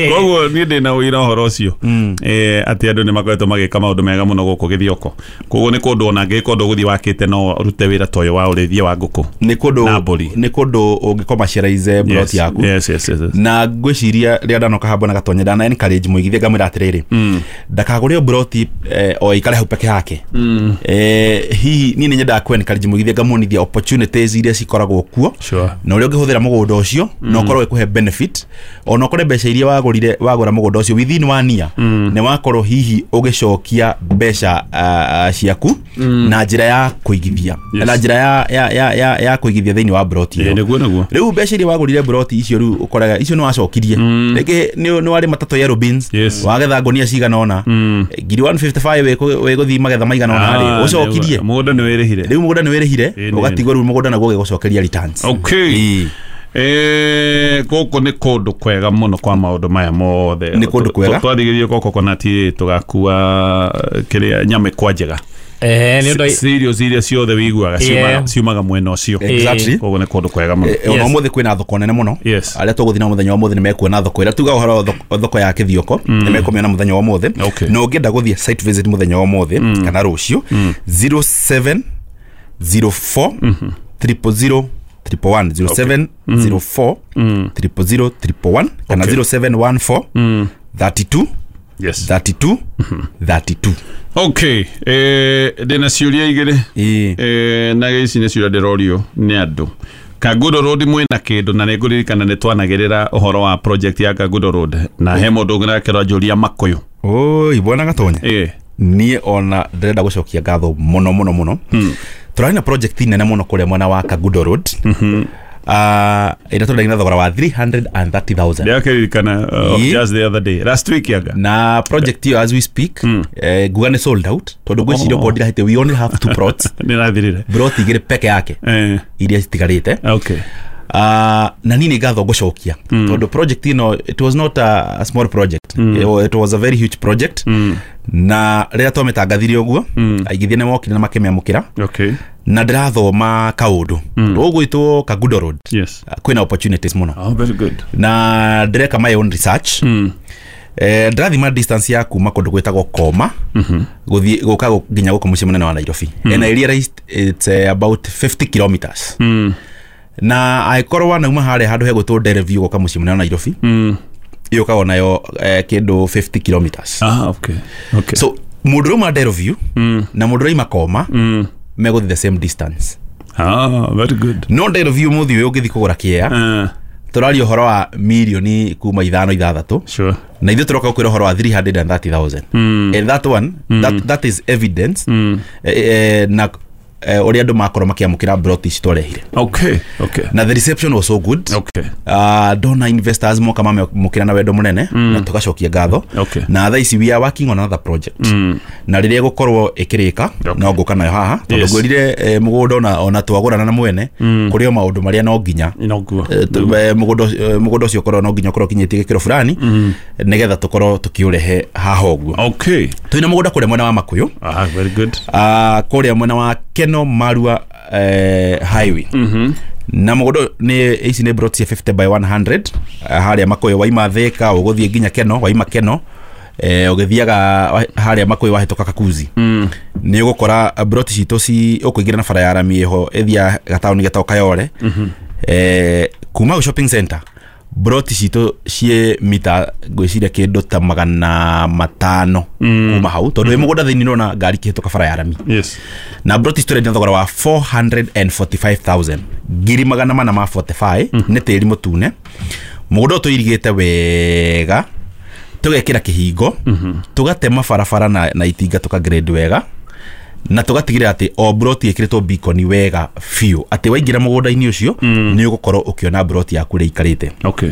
[SPEAKER 1] Koguo niĩ ndĩna ũira ũhoro ũcio, atĩ andũ nĩ makoretwo magĩka maũndũ mega mũno gũkũ Gĩthioko. Koguo nĩ kũndũ ona angĩkorwo ndũgũthiĩ wakĩte no ũrute wĩra ta ũyũ wa ũrĩithia wa ngũkũ
[SPEAKER 3] Nĩ kũndũ
[SPEAKER 1] na mbũri.
[SPEAKER 3] Nĩ kũndũ ũngĩcommercialize plot yaku.
[SPEAKER 1] Yes, yes, yes, yes.
[SPEAKER 3] Na ngwĩciria rĩrĩa ndanoka haha bwana Gatonye ndana encourage mũigithia ngamwĩra atĩrĩrĩ, ndakagũre broti o ikare hau peke yake. Hihi niĩ nĩ nyendaga ku encourage mũigithia ngamuonithia opportunities iria cikoragwo kuo,
[SPEAKER 1] Sure.
[SPEAKER 3] na ũrĩa ũngĩhũthĩra mũgũnda ũcio na ũkorwo ĩkũhe benefit, ona ũkore mbeca iria wagũrire wagũra mũgũnda ũcio within 1 year nĩ wakorwo hihi ũgĩcokia mbeca ciaku na njĩra njĩra ya kũigithia na njĩra ya kũigithia thĩinĩ wa broti ĩyo.
[SPEAKER 1] Nĩguo
[SPEAKER 3] rĩu mbeca iria wagũrire broti icio rĩu ũkoraga icio nĩ wacokirie rĩngĩ nĩ warĩ matatũ yellow beans wagetha ngũnia cigana ũna ngiri 155 wĩgũthiĩ magetha maigana ũna rĩ ũcokirie
[SPEAKER 1] mũgũnda nĩ wĩrĩhire
[SPEAKER 3] rĩu mũgũnda nĩ wĩrĩhire ũgatigwo rĩu mũgũnda naguo ũgĩgũcokeria returns.
[SPEAKER 1] Okay. Gũkũ nĩ kũndũ kwega mũno kwa maũndũ maya mothe.
[SPEAKER 3] Nĩ kũndũ kwega.
[SPEAKER 1] Twathiĩ gũkũ coconut tũgakua kĩrĩa nyama kwa njega.
[SPEAKER 2] Nĩ ũndũ
[SPEAKER 1] cereals iria ciothe wiguaga ciumaga mwena ũcio.
[SPEAKER 3] Exactly.
[SPEAKER 1] Koguo nĩ kũndũ kwega mũno.
[SPEAKER 3] Ona ũmũthĩ kwĩna thoko nene mũno. Arĩa tũgũthiĩ na mũthenya wa ũmũthĩ nĩ mekuona thoko ĩrĩa tuga ũhoro thoko ya Kĩthioko nĩ mekũmĩona mũthenya wa ũmũthĩ. Na ũngĩenda gũthiĩ site visit mũthenya wa ũmũthĩ kana rũciũ 0704 000 111 0704 000 111 kana 0714 32 32 32.
[SPEAKER 1] Okay, ndĩna ciũria igĩrĩ na ici nĩ ciũria ndĩrorio nĩ andũ. Kangundo Road mwĩna kĩndũ na nĩngũririkana nĩ twanagĩrĩra ũhoro wa project ya Kangundo Road na he mũndũ ũngĩ nake ũranjũria Makũyũ.
[SPEAKER 3] Oi bwana Gatonye. Niĩ ona ndĩrenda gũcokia ngatho mũno mũno mũno. Tũrarĩ na project nene mũno kũrĩa mwena wa Kangundo Road. Ĩrĩa tũrarĩ na thogora wa 330,000.
[SPEAKER 1] Ndĩrakĩririkana just the other day last week yaga.
[SPEAKER 3] Na project ĩyo as we speak nguga nĩ sold out tondũ ngwĩciria okorwo ndirahĩte we only have 2 plots.
[SPEAKER 1] Nĩrathirire
[SPEAKER 3] plot igĩrĩ peke yake iria citigarĩte.
[SPEAKER 1] Okay.
[SPEAKER 3] Na niĩ nĩ ngatho ngũcokia tondũ project ĩno it was not a small project. It was a very huge project. Na rĩrĩa twamĩtangathire ũguo aigithia nĩ mokire na makĩmĩamũkĩra.
[SPEAKER 1] Okay.
[SPEAKER 3] Na ndĩrathoma kaũndũ ũgwĩtwo Kangundo Road.
[SPEAKER 1] Yes.
[SPEAKER 3] Kwĩna opportunities mũno.
[SPEAKER 1] Oh, very good.
[SPEAKER 3] Na ndĩreka my own research. Ndĩrathima distance ya kuma kũndũ gwĩtagwo Koma gũthiĩ gũka nginya gũkũ mũciĩ mũnene wa Nairobi. And I realized it's about 50 kilometers. Na angĩkorwo wanauma harĩa handũ hegwĩtwo Dereview gũka mũciĩ mũnene wa Nairobi yũkaga nayo kĩndũ 50 kilometers.
[SPEAKER 1] Okay. Okay.
[SPEAKER 3] So mũndũ ũrauma Dereview na mũndũ ũrauma Koma megũthiĩ the same distance.
[SPEAKER 1] Very good.
[SPEAKER 3] No Dereview mũthĩ ũyũ ũngĩthiĩ kũgũra kĩea tũraria ũhoro wa mirioni kuma 5 6.
[SPEAKER 1] Sure.
[SPEAKER 3] Na ithuĩ tũroka gũkwĩra ũhoro wa 330,000. And that one that is evidence na ũrĩa andũ makorwo makĩamũkĩra broti ici twarehire.
[SPEAKER 1] Okay. Okay.
[SPEAKER 3] Na the reception was so good.
[SPEAKER 1] Okay.
[SPEAKER 3] Ndona investors moka mamũkĩra na wendo mũnene na tũgacokia ngatho.
[SPEAKER 1] Okay.
[SPEAKER 3] Na thaa ici we are working on another project. Na rĩrĩa ĩgũkorwo ĩkĩrĩka no ngũka nayo haha tondũ ngwĩrire mũgũnda ona twagũrana na mwene kũrĩ o maũndũ marĩa no nginya mũgũnda ũcio ũkorwo no nginya ũkorwo ũkinyĩtie gĩkĩro fulani nĩgetha tũkorwo tũkĩũrehe haha ũguo.
[SPEAKER 1] Okay.
[SPEAKER 3] Twĩna mũgũnda kũrĩa mwena wa Makũyũ.
[SPEAKER 1] Very good.
[SPEAKER 3] Kũrĩa mwena wa Keno Marua highway. Na mũgũnda nĩ ici nĩ plot cia 50 by 100 harĩa Makũyũ waima Thika ũgũthiĩ nginya Keno waima Keno ũgĩthiaga harĩa Makũyũ wahĩtũka Kakuzi. Nĩ ũgũkora plot citũ ci ũkũingĩra na bara ya rami ĩho ĩthiaga gataũni getagwo Kayole. Kuma shopping center broti citũ ciĩ mita ngwĩciria kĩndũ ta 500 kuma hau tondũ wĩ mũgũnda thĩinĩ nĩũrona ngari ikĩhĩtũka bara ya rami.
[SPEAKER 1] Yes.
[SPEAKER 3] Na broti citũ tũrendia thogora wa 445,000 ngiri 445 nĩ tĩri mũtune. Mũgũnda ũyũ tũirigĩte wega tũgekĩra kĩhingo tũgatema barabara na itinga tũka grade wega na tũgatigĩrĩra atĩ o broti ĩkĩrĩtwo beacon wega biũ atĩ waingĩra mũgũnda-inĩ ũcio nĩ ũgũkorwo ũkĩona broti yaku ũrĩa ĩikarĩte.
[SPEAKER 1] Okay.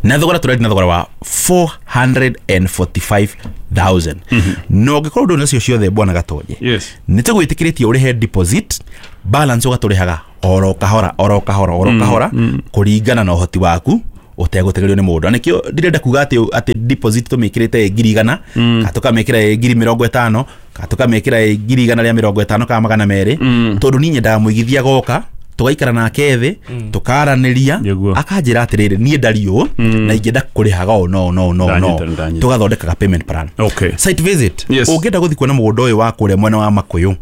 [SPEAKER 3] Na thogora tũrendia na thogora wa 445,000. Na ũngĩkorwo ndũrĩ nacio ciothe bwana Gatonye.
[SPEAKER 1] Yes.
[SPEAKER 3] Nĩ tũgwĩtĩkĩrĩtie ũrĩhe deposit balance ũgatũrĩhaga oro kahora oro kahora oro kahora kũringana na ũhoti waku ũtegũtegerio nĩ mũndũ. Na nĩkĩo ndĩrenda kuga atĩ deposit tũmĩkĩrĩte 100,000 kana tũkamĩkĩra 50,000 kana tũkamĩkĩra 150,000 kana 200 tondũ niĩ nyendaga mũigithia goka tũgaikara nake thĩ tũkaranĩria akanjĩra atĩrĩrĩ niĩ ndari ũũ na ingĩenda kũrĩhaga ũũ no no no no tũgathondekaga payment plan.
[SPEAKER 1] Okay.
[SPEAKER 3] Site visit.
[SPEAKER 1] Yes.
[SPEAKER 3] Ũngĩenda gũthiĩ kuona mũgũnda ũyũ wa kũrĩa mwena wa Makũyũ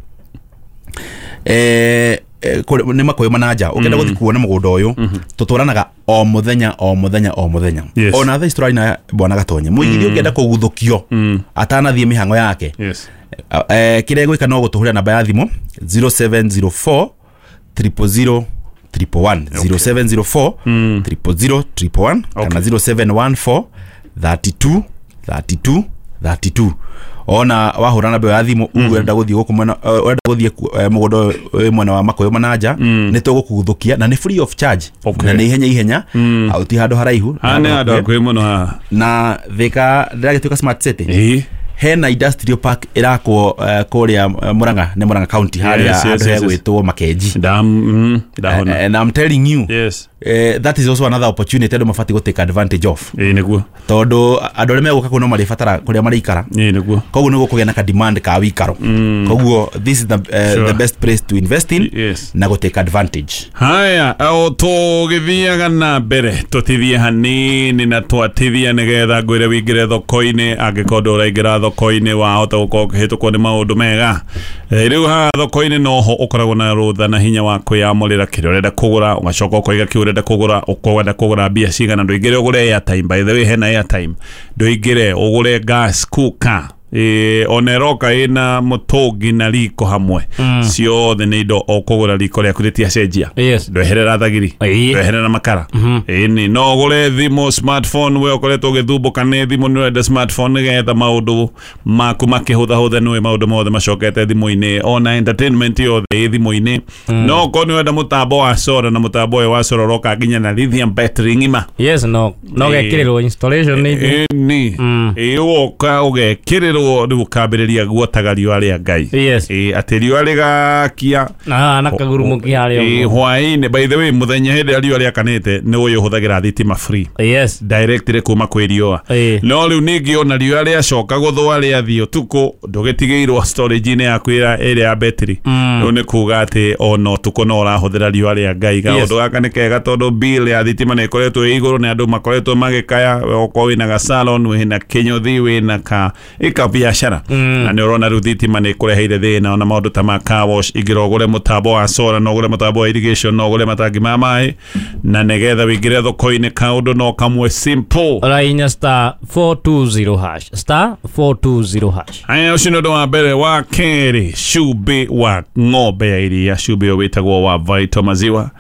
[SPEAKER 3] nĩ Makũyũ Mananja ũngĩenda gũthiĩ kuona mũgũnda ũyũ tũtwaranaga o mũthenya o mũthenya o mũthenya.
[SPEAKER 1] Yes.
[SPEAKER 3] Ona thaa ici tũrarĩ na bwana Gatonye mũigithia ũngĩenda kũguthũkio atanathiĩ mĩhang'o yake.
[SPEAKER 1] Yes.
[SPEAKER 3] Kĩrĩa egwĩka no gũtũhũrĩra namba ya thimũ 0704 000 111 0704 000 111 kana 0714 32 32 32. Ona wahũra namba ya thimũ uge ũrenda gũthiĩ gũkũ mwena, ũrenda gũthiĩ mũgũnda wĩ mwena wa Makũyũ Mananja, nĩ tũgũkuthũkia na nĩ free of charge.
[SPEAKER 1] Okay.
[SPEAKER 3] Na nĩ ihenya ihenya, au ti handũ haraihu.
[SPEAKER 1] Haha nĩ handũ hakuhĩ mũno haha.
[SPEAKER 3] Na Thika ndĩragĩtuĩka smart city.
[SPEAKER 1] Ĩĩ.
[SPEAKER 3] Hena industrial park ĩrakwo kũrĩa Murang'a, nĩ Murang'a county harĩa
[SPEAKER 1] Yes,
[SPEAKER 3] handũ
[SPEAKER 1] yes.
[SPEAKER 3] hegwĩtwo Makenji.
[SPEAKER 1] Ndahona.
[SPEAKER 3] And I'm telling you,
[SPEAKER 1] Yes.
[SPEAKER 3] that is also another opportunity andũ mabatiĩ gũ take advantage of.
[SPEAKER 1] Ĩĩ nĩguo.
[SPEAKER 3] Tondũ andũ arĩa megũka kũu no marĩbatara kũrĩa marĩikara.
[SPEAKER 1] Ĩĩ nĩguo.
[SPEAKER 3] Koguo nĩ gũkũgĩa na ka demand ka wĩikaro. Koguo this is the,
[SPEAKER 1] Sure.
[SPEAKER 3] the best place to invest in
[SPEAKER 1] Yes.
[SPEAKER 3] na gũ take advantage.
[SPEAKER 1] Haya, o tũgĩthiaga na mbere tũtithie hanini na twatithia nĩgetha ngwĩre wĩingĩre thoko-inĩ. Angĩkorwo ndũraingĩra thoko-inĩ wahota gũkorwo ũkĩhĩtũkwo nĩ maũndũ mega. Rĩu haha thoko-inĩ noho ũkoragwo na rũtha na hinya wa kwĩyamũrĩra kĩrĩa ũrenda kũgũra, ũgacoka ũkoiga kĩu ũrenda kũgũra, ũkwenda kũgũra mbia cigana. Ndũingĩre ũgũre airtime, by the way hena airtime. Ndũingĩre ũgũre gas cooker, ona ĩroka ĩna mũtũngi na riko hamwe. Ciothe nĩ indo ũkũgũra, riko rĩaku rĩtiacenjia.
[SPEAKER 2] Yes.
[SPEAKER 1] Ndweherera thagiri,
[SPEAKER 2] Ĩĩ.
[SPEAKER 1] ndweherera makara. Ĩni no ũgũre thimũ smartphone, we ũkoretwo ũgĩthumbũka nĩ thimũ, nĩ ũrenda smartphone nĩgetha maũndũ maku makĩhũthahũthe, nĩũĩ maũndũ mothe macokete thimũ-inĩ, ona entertainment yothe ĩ thimũ-inĩ. No okorwo nĩ ũrenda mũtambo wa solar, na mũtambo ũyũ wa solar ũroka nginya na lithium battery ng'ima.
[SPEAKER 2] Yes, no gekĩrĩrwo installation nĩ
[SPEAKER 1] Ĩni ĩ ũgoka ũgekĩrĩrwo rĩu ũkambĩrĩria guotaga riũa rĩa Ngai.
[SPEAKER 2] Yes.
[SPEAKER 1] Ĩ atĩ riũa rĩgakia
[SPEAKER 2] na na kagurumuki harĩa
[SPEAKER 1] Ĩ
[SPEAKER 2] ũguo.
[SPEAKER 1] hwaĩ-inĩ, by the way mũthenya hĩndĩ ĩrĩa riũa rĩakanĩte nĩ ũyũ ũhũthagĩra thitima free
[SPEAKER 2] Yes.
[SPEAKER 1] directly kuma kwĩ riũa.
[SPEAKER 2] Ĩ.
[SPEAKER 1] No rĩu ningĩ ona riũa rĩacoka gũthũa rĩathiĩ ũtukũ, ndũgĩtigĩirwo storage-inĩ yaku ĩrĩa ya betri. Rĩu nĩ kuga atĩ ona ũtukũ no ũrahũthĩra riũa rĩa Ngai. Kaũndũ gaka nĩ kega tondũ bill ya thitima nĩ ĩkoretwo ĩ igũrũ, nĩ andũ makoretwo magĩkaya. Okorwo wĩna ga salon, wĩna kĩnyũthi, wĩna ka ĩka biacara, na nĩ ũrona rĩu thitima nĩ ĩkũreheire thĩna. Ona maũndũ ta ma car wash, ingĩra ũgũre mũtambo wa solar, no ũgũre mũtambo wa irrigation, no ũgũre matangi ma maĩ, na nĩgetha wĩingĩre thoko-inĩ kaũndũ no kamwe simple.
[SPEAKER 2] Ũrahihinya star 420 hash, star 420 hash.
[SPEAKER 1] Aya, ũcio nĩ ũndũ wa mbere. Wa kerĩ, cumbĩ wa ng'ombe ya iria, cumbĩ ũyũ wĩtagwo wa Vital Maziwa.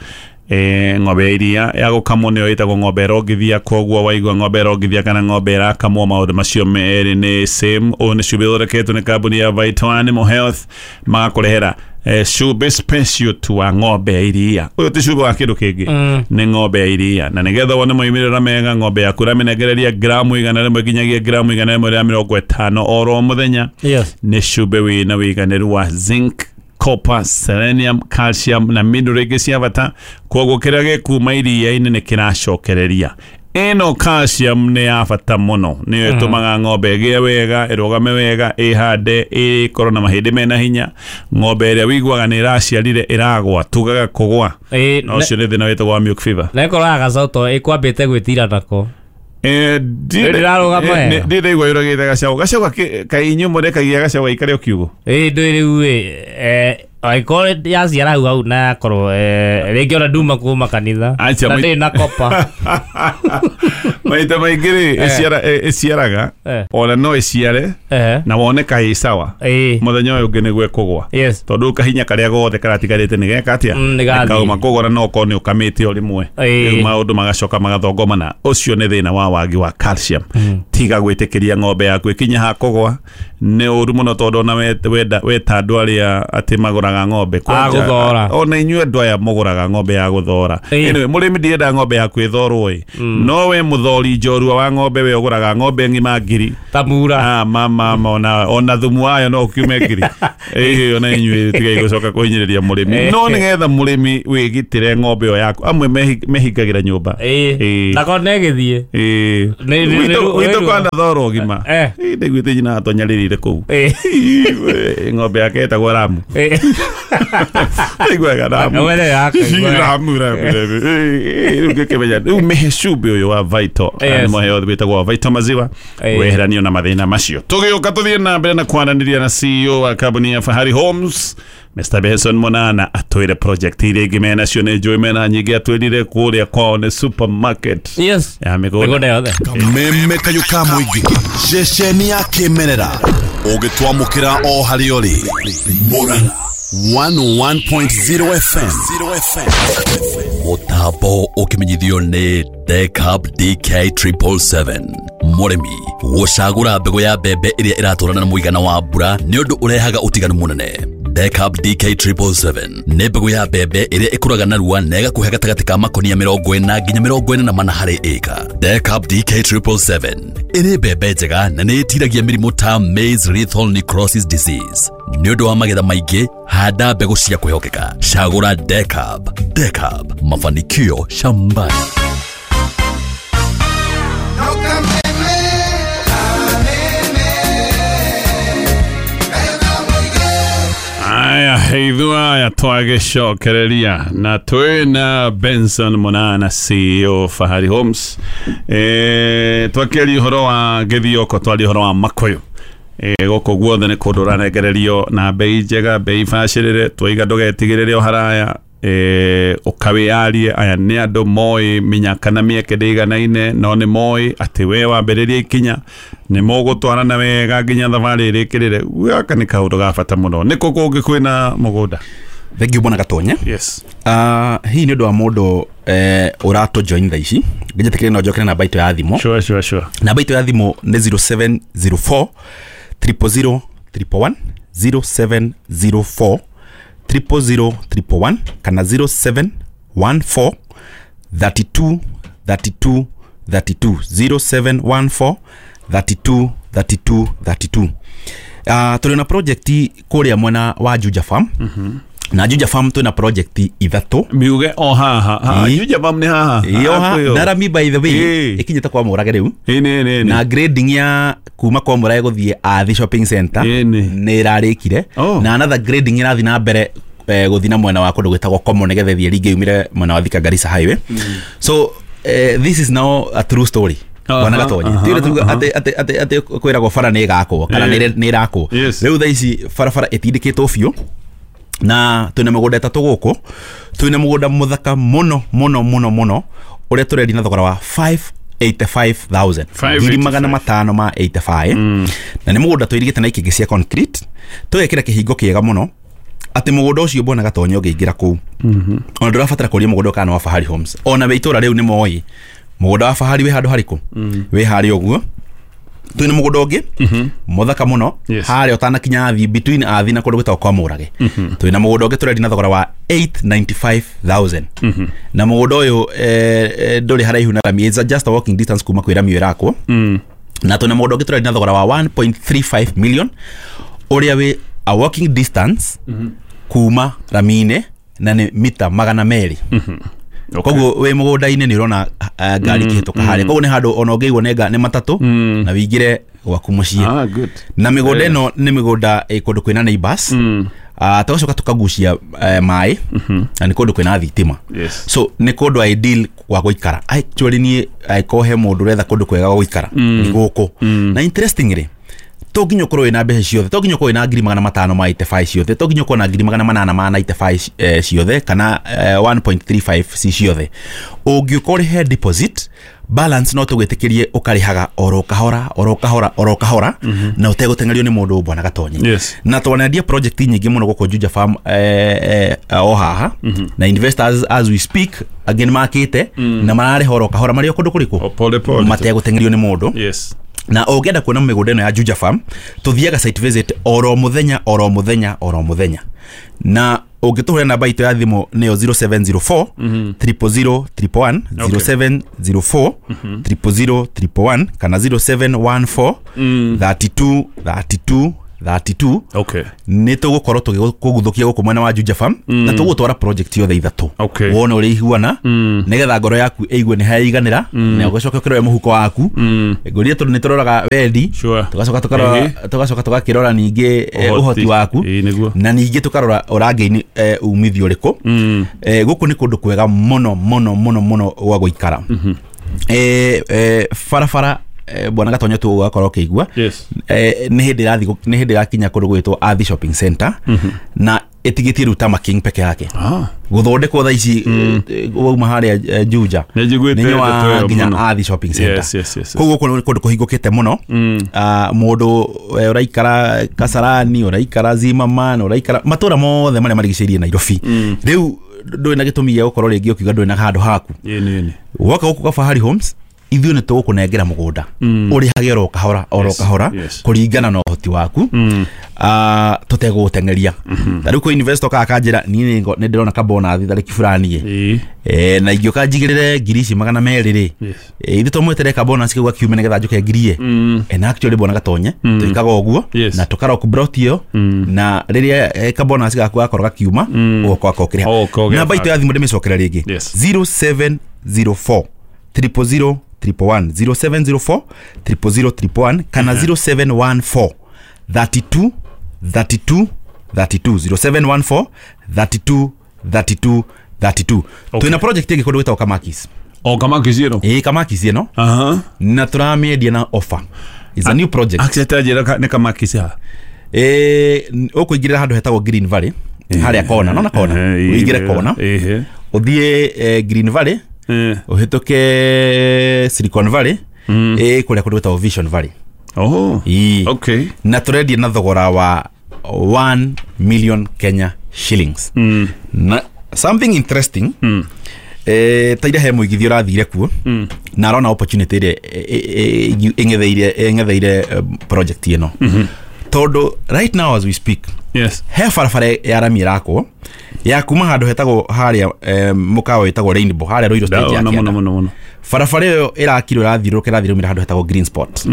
[SPEAKER 1] Ng'ombe ya iria ya gũkamwo nĩyo ĩtagwo ng'ombe ĩrongithia, koguo waigua ng'ombe ĩrongithia kana ng'ombe ĩrakamwo, maũndũ macio merĩ nĩ same. Ũyũ nĩ cumbĩ ũthondeketwo nĩ kambuni ya Vital Animal Health, magakũrehera cumbĩ special tu wa ng'ombe ya iria. Ũyũ ti cumbĩ wa kĩndũ kĩngĩ, nĩ ng'ombe ya iria. Na nĩgetha wone moimĩrĩro mega, ng'ombe yaku ũramĩnengereria gramu 100 nginyagia gramu 150 oro mũthenya.
[SPEAKER 2] Yes.
[SPEAKER 1] Nĩ cumbĩ wĩna wĩiganĩru wa zinc, copper, selenium, calcium na mineral ingĩ cia bata. Koguo kĩrĩa gĩkuma iria-inĩ nĩ kĩracokereria. Ĩno calcium nĩ ya bata mũno, nĩyo ĩtũmaga ng'ombe ĩgĩe wega, ĩrũgame wega, ĩhande, ĩkorwo na mahĩndĩ mena hinya. Ng'ombe ĩrĩa wĩiguaga nĩ ĩraciarire ĩragwa, tugaga kũgwa,
[SPEAKER 2] Ĩ,
[SPEAKER 1] na ũcio nĩ thĩna wĩtagwo wa milk fever.
[SPEAKER 2] na ĩkorwo ya gacaũ to ĩkwambĩte gwĩtira nako. Ndĩrarũgama wega.
[SPEAKER 1] Ndĩraigua yũragĩte gacaũ, gacaũ kaĩ inyuĩ mũrekagia gacaũ gaikare o kiugũ.
[SPEAKER 2] Ĩ ndũĩ rĩu ĩ, angĩkorwo yaciara hau hau na yakorwo rĩngĩ ona nduma kuma kanitha
[SPEAKER 1] Acha,
[SPEAKER 2] na ndĩrĩ na kopa.
[SPEAKER 1] Maita maingĩ rĩ, ĩciaraga, ona no ĩciare na wone kaĩ sawa,
[SPEAKER 2] Ĩ.
[SPEAKER 1] mũthenya ũyũ ũngĩ nĩguo ĩkũgwa.
[SPEAKER 2] Yes.
[SPEAKER 1] Tondũ kahinya karĩa gothe karatigarĩte nĩ geka atĩa?
[SPEAKER 2] Nĩ gathiĩ.
[SPEAKER 1] Kauma kũgora, no okorwo nĩ ũkamĩte o rĩmwe,
[SPEAKER 2] Ĩ.
[SPEAKER 1] rĩu maũndũ magacoka magathongomana. Ũcio nĩ thĩna wa wagi wa calcium. Tiga gwĩtĩkĩria ng'ombe yaku ĩkinye ha kũgwa, nĩ ũru mũno, tondũ ona weta andũ arĩa atĩ magũraga ng'ombe
[SPEAKER 2] A gũthora.
[SPEAKER 1] Ona inyuĩ andũ aya mũgũraga ng'ombe ya gũthora.
[SPEAKER 2] Ĩ.
[SPEAKER 1] Anyway, mũrĩmi ndiendaga ng'ombe yaku ĩthorwo ĩ, no we mũthori njorua wa ng'ombe, we ũgũraga ng'ombe ng'ima ngiri
[SPEAKER 2] Ta mura.
[SPEAKER 1] Ah, mama, mama, ona thumu wayo no ũkiume ngiri. Ĩĩ, ona inyuĩ tigai gũcoka kũhinyĩrĩria mũrĩmi. No nĩgetha mũrĩmi wĩgitĩre ng'ombe ĩyo yaku, amwe mehingagĩra nyũmba.
[SPEAKER 2] Ĩ.
[SPEAKER 1] Ĩ.
[SPEAKER 2] Nako nĩ ĩgĩthiĩ.
[SPEAKER 1] Ĩĩ.
[SPEAKER 2] Nĩ
[SPEAKER 1] Gwitũ
[SPEAKER 2] ruo.
[SPEAKER 1] kwanathorwo gima. Ĩĩ, ndaiguĩte nyina atonyarĩrĩire kũu.
[SPEAKER 2] Ĩ.
[SPEAKER 1] Ĩĩ, ng'ombe yake ĩtagwo Ramu.
[SPEAKER 2] Ĩ.
[SPEAKER 1] Ĩiguaga Ramu.
[SPEAKER 2] Wene yake.
[SPEAKER 1] Ramu, Ramu, Ramu. Ĩĩ, rĩu ngĩkĩmenya rĩu mĩhe cumbĩ ũyũ wa Vital
[SPEAKER 2] Yes.
[SPEAKER 1] Animal Health wĩtagwo wa Vital Maziwa,
[SPEAKER 2] Ĩĩ.
[SPEAKER 1] weheranio na mathĩna macio. Tũgĩũka tũthiĩ na mbere na kwaranĩria na CEO wa kambuni ya Fahari Homes, Mr. Benson Monana, atwĩre project iria ingĩ menacio, nĩ njũĩ mena nyingĩ. Atwĩrire kũrĩa kwao nĩ supermarket
[SPEAKER 2] Yes.
[SPEAKER 1] ya mĩgũnda.
[SPEAKER 2] Mĩgũnda yothe.
[SPEAKER 4] Kameme kayũ ka mũingĩ, ceceni ya kĩmerera, ũngĩtwamũkĩra o harĩa ũrĩ. Mũrang'a. 101.0 FM.
[SPEAKER 5] Mũtambo ũkĩmenyithio nĩ Decab DK 777. Mũrĩmi gũcagũra mbegũ ya mbembe ĩrĩa ĩratwarana na mũigana wa mbura nĩ ũndũ ũrehaga ũtiganu mũnene. Decab DK 777 nĩ mbegũ ya mbembe ĩrĩa ĩkũraga narua na ĩgakũhe gatagatĩ ka makonia 40 nginya 44 harĩ ĩka. Decab DK 777 ĩrĩ mbembe njega na nĩ ĩtiragia mĩrimũ ta maize lethal necrosis disease. Nĩ ũndũ wa magetha maingĩ, handa mbegũ cia kwĩhokeka. Cagũra Decab. Decab, mafanikio shambani.
[SPEAKER 1] Aya, ithua ya twagĩcokereria na twĩna Benson Munana CEO Fahari Homes. Twakĩaria ũhoro wa gĩthioko, twaria ũhoro wa Makuyu. Gũkũ guothe nĩ kũndũ ũranengererio na bei njega, bei bacĩrĩre, twaiga ndũgetigĩrĩre o haraya, ũkawĩyarie. Aya nĩ andũ moĩ mĩnyaka na mĩeke ndĩiganaine, no nĩ moĩ atĩ we wambĩrĩria ikinya nĩ mũgũtwarana wega nginya thabarĩ ĩrĩkĩrĩre. Gaka nĩ kaũndũ ga bata mũno. Nĩ kũ kũngĩ kwĩna mũgũnda?
[SPEAKER 3] Thank you bwana Gatonye.
[SPEAKER 1] Yes.
[SPEAKER 3] Hii nĩ ũndũ wa mũndũ ũratũ join thaa ici. Ngĩnjĩtĩkĩrie no njokere namba itũ ya thimũ.
[SPEAKER 1] Sure.
[SPEAKER 3] Namba itũ ya thimũ nĩ 0704 000 111, 0704 000 111 kana 0714 32 32 32, 0714 32 32 32. Tũrĩ na project kũrĩa mwena wa Juja Farm. Na Juja Farm twĩna project ithatũ.
[SPEAKER 1] Miuge o haha. Juja Farm nĩ haha.
[SPEAKER 3] Ĩyo Narami by the way ĩkinyĩte kwa Mũrage rĩu.
[SPEAKER 1] Ĩ
[SPEAKER 3] Na grading ya kuma kwa Mũrage gũthiĩ Athi Shopping Center nĩ ĩrarĩkire. Na another grading ĩrathiĩ na mbere gũthiĩ na mwena wa kũndũ gwĩtagwo Komo nĩgetha ĩthiĩ rĩngĩ yumĩre mwena wa Thika Garissa Highway. So this is now a true story. Bwana Gatonye. Tiure tuga atĩ kwĩragwo bara nĩ ĩgakwo kana nĩ ĩrakwo. Rĩu thaa ici barabara ĩtindĩkĩtwo biũ. Na twĩna mĩgũnda ĩtatũ gũkũ. Twĩna mũgũnda mũthaka mũno mũno mũno mũno ũrĩa tũrendia na thogora wa 585,000. 585. Na nĩ mũgũnda tũirigĩte na ikĩngĩ cia concrete. Tũgekĩra kĩhingo kĩega mũno atĩ mũgũnda ũcio bwana Gatonye ũngĩingĩra kũu. Ona ndũrabatara kũria mũgũnda kana wa Fahari Homes. Ona wĩ itũra rĩu nĩ moĩ mũgũnda wa Fahari wĩ handũ harĩkũ? Wĩ harĩa ũguo. Twĩna mũgũnda ũngĩ mũthaka mũno harĩa ũtanakinya Athi, between Athi na kũndũ gwĩtagwo kwa Mũrage. Twĩna mũgũnda ũngĩ tũrendia na thogora wa 895,000. Na mũgũnda ũyũ ndũrĩ haraihu na rami, it's just a walking distance kuma kwĩ rami ĩrakwo. Na twĩna mũgũnda ũngĩ tũrendia na thogora wa 1.35 million ũrĩa wĩ a walking distance kuma rami-inĩ na nĩ mita 200. Koguo wĩ mũgũnda-inĩ nĩ ũrona ngari ikĩhĩtũka harĩa. Koguo nĩ handũ ona ũngĩigwo nĩ matatũ na wĩingĩre gwaku mũciĩ. Na mĩgũnda ĩno nĩ mĩgũnda ĩ kũndũ kwĩna neighbors. Tũgacoka tũkagucia maĩ na nĩ kũndũ kwĩna thitima. So nĩ kũndũ ideal gwa gũikara. Actually niĩ angĩkorwo he mũndũ ũretha kũndũ kwega gwa gũikara nĩ gũkũ. Na interestingly to nginya ũkorwo wĩna mbeca ciothe, to nginya ũkorwo wĩna 585 ciothe, to nginya ũkorwo na 895 ciothe kana 1.35 ci ciothe. Ũngĩũka ũrĩhe deposit balance no tũgwĩtĩkĩrie ũkarĩhaga oro kahora oro kahora oro kahora na ũtegũteng'erio nĩ mũndũ bwana Gatonye. Na twanendia project nyingĩ mũno gũkũ Juja Farm o haha. Na investors as we speak again makĩte na mararĩha oro kahora marĩ o kũndũ kũrĩkũ mategũteng'erio nĩ mũndũ. Na ũngĩenda kuona mĩgũnda ĩno ya Juja Farm tũthiaga site visit oro mũthenya oro mũthenya oro mũthenya. Na ũngĩtũhũrĩra namba itũ ya thimũ nĩyo 0704 000 111, 0704 000 111 kana 0714 32 32 32. Nĩ tũgũkorwo tũgĩkũguthũkia gũkũ mwena wa Juja Farm na tũgũtwara project yothe ithatũ. Wone ũrĩa ihuana nĩgetha ngoro yaku ĩigue nĩ haiganĩra na ũgacoka ũkĩrore mũhuko waku. Ngũria tondũ nĩ tũroraga wendi, tũgacoka tũgakĩrora ningĩ ũhoti waku na ningĩ tũkarora ũrangĩini umithio ũrĩkũ. Gũkũ nĩ kũndũ kwega mũno mũno mũno mũno gwa gũikara. Barabara bwana Gatonyo tu ũgakorwo ũkĩigua.
[SPEAKER 1] Yes.
[SPEAKER 3] Nĩ hĩndĩ ĩrathiĩ, nĩ hĩndĩ ĩrakinya kũndũ gwĩtwo Athi Shopping Center, na ĩtigĩtie rĩu Tama King peke yake gũthondekwo thaa ici, wauma harĩa Juja.
[SPEAKER 1] Nĩ njiguĩte
[SPEAKER 3] nĩ
[SPEAKER 1] ndeto
[SPEAKER 3] nyoa
[SPEAKER 1] ĩyo
[SPEAKER 3] nginya
[SPEAKER 1] mũno.
[SPEAKER 3] Athi Shopping Center.
[SPEAKER 1] Yes.
[SPEAKER 3] Koguo gũkũ nĩ kũndũ kũhingũkĩte mũno. Mũndũ ũraikara Kasarani, ũraikara Zimmerman, ũraikara matũra mothe marĩa marigicĩirie Nairobi, rĩu ndũrĩ na gĩtũmi gĩa gũkorwo rĩngĩ ũkiuga ndũrĩ na handũ haku.
[SPEAKER 1] Ĩni.
[SPEAKER 3] Woka gũkũ Kafahari Homes, ithuĩ nĩ tũgũkũnengera mũgũnda, ũrĩhage oro kahora oro kahora kũringana na ũhoti waku, tũtegũgũteng'eria. Ta rĩu kwĩ investor okaga akanjĩra, niĩ nĩ ndĩrona kabonathi tarĩki fulani ĩ, na ingĩũka njigĩrĩre 200,000 rĩ, ithuĩ tũmwetere kabonus kau gakiume nĩgetha njũke ngirie. And actually bwana Gatonye, twĩkaga ũguo na tũkarock brot ĩyo, na rĩrĩa kabonus gaku gakorwo gakiuma, ũgoka ũkĩrĩha.
[SPEAKER 1] Ũgoka ũgĩetha.
[SPEAKER 3] Namba itũ ya thimũ ndĩmĩcokere rĩngĩ. 0704 000 111, 0704 000 111, kana 0714 32 32 32, 0714 32 32 32. Twĩna project ĩngĩ kũndũ gwĩtagwo Kamakis.
[SPEAKER 1] O Kamakis ĩno?
[SPEAKER 3] Ĩĩ, Kamakis ĩno. Na tũramĩendia na offer. It's a new project.
[SPEAKER 1] Actually njĩra nĩ Kamakis ha?
[SPEAKER 3] Ũkũingĩrĩra handũ hetagwo Green Valley, harĩa kona, nona kona, ũingĩre kona, ũthiĩ Green Valley, ũhĩtũke Silicon Valley, kũrĩa kũndũ gwĩtagwo Vision Valley.
[SPEAKER 1] Oh. Okay.
[SPEAKER 3] Na tũrendia na thogora wa 1 million Kenya shillings. Na something interesting, ta ira he mũigithia ũrathire kuo, na arona opportunity ĩrĩa ĩng'etheire project ĩno, tondũ right now as we speak, he barabara ya rami ĩrakwo ya kuma handũ hetagwo harĩa mũkawa wĩtagwo Rainbow, harĩa Ruiru stage ya
[SPEAKER 1] Kĩanda.
[SPEAKER 3] Mũno. Barabara ĩyo ĩrakirwo ĩrathiũrũrũka ĩrathiũrũrũkĩra handũ hetagwo Green Spot.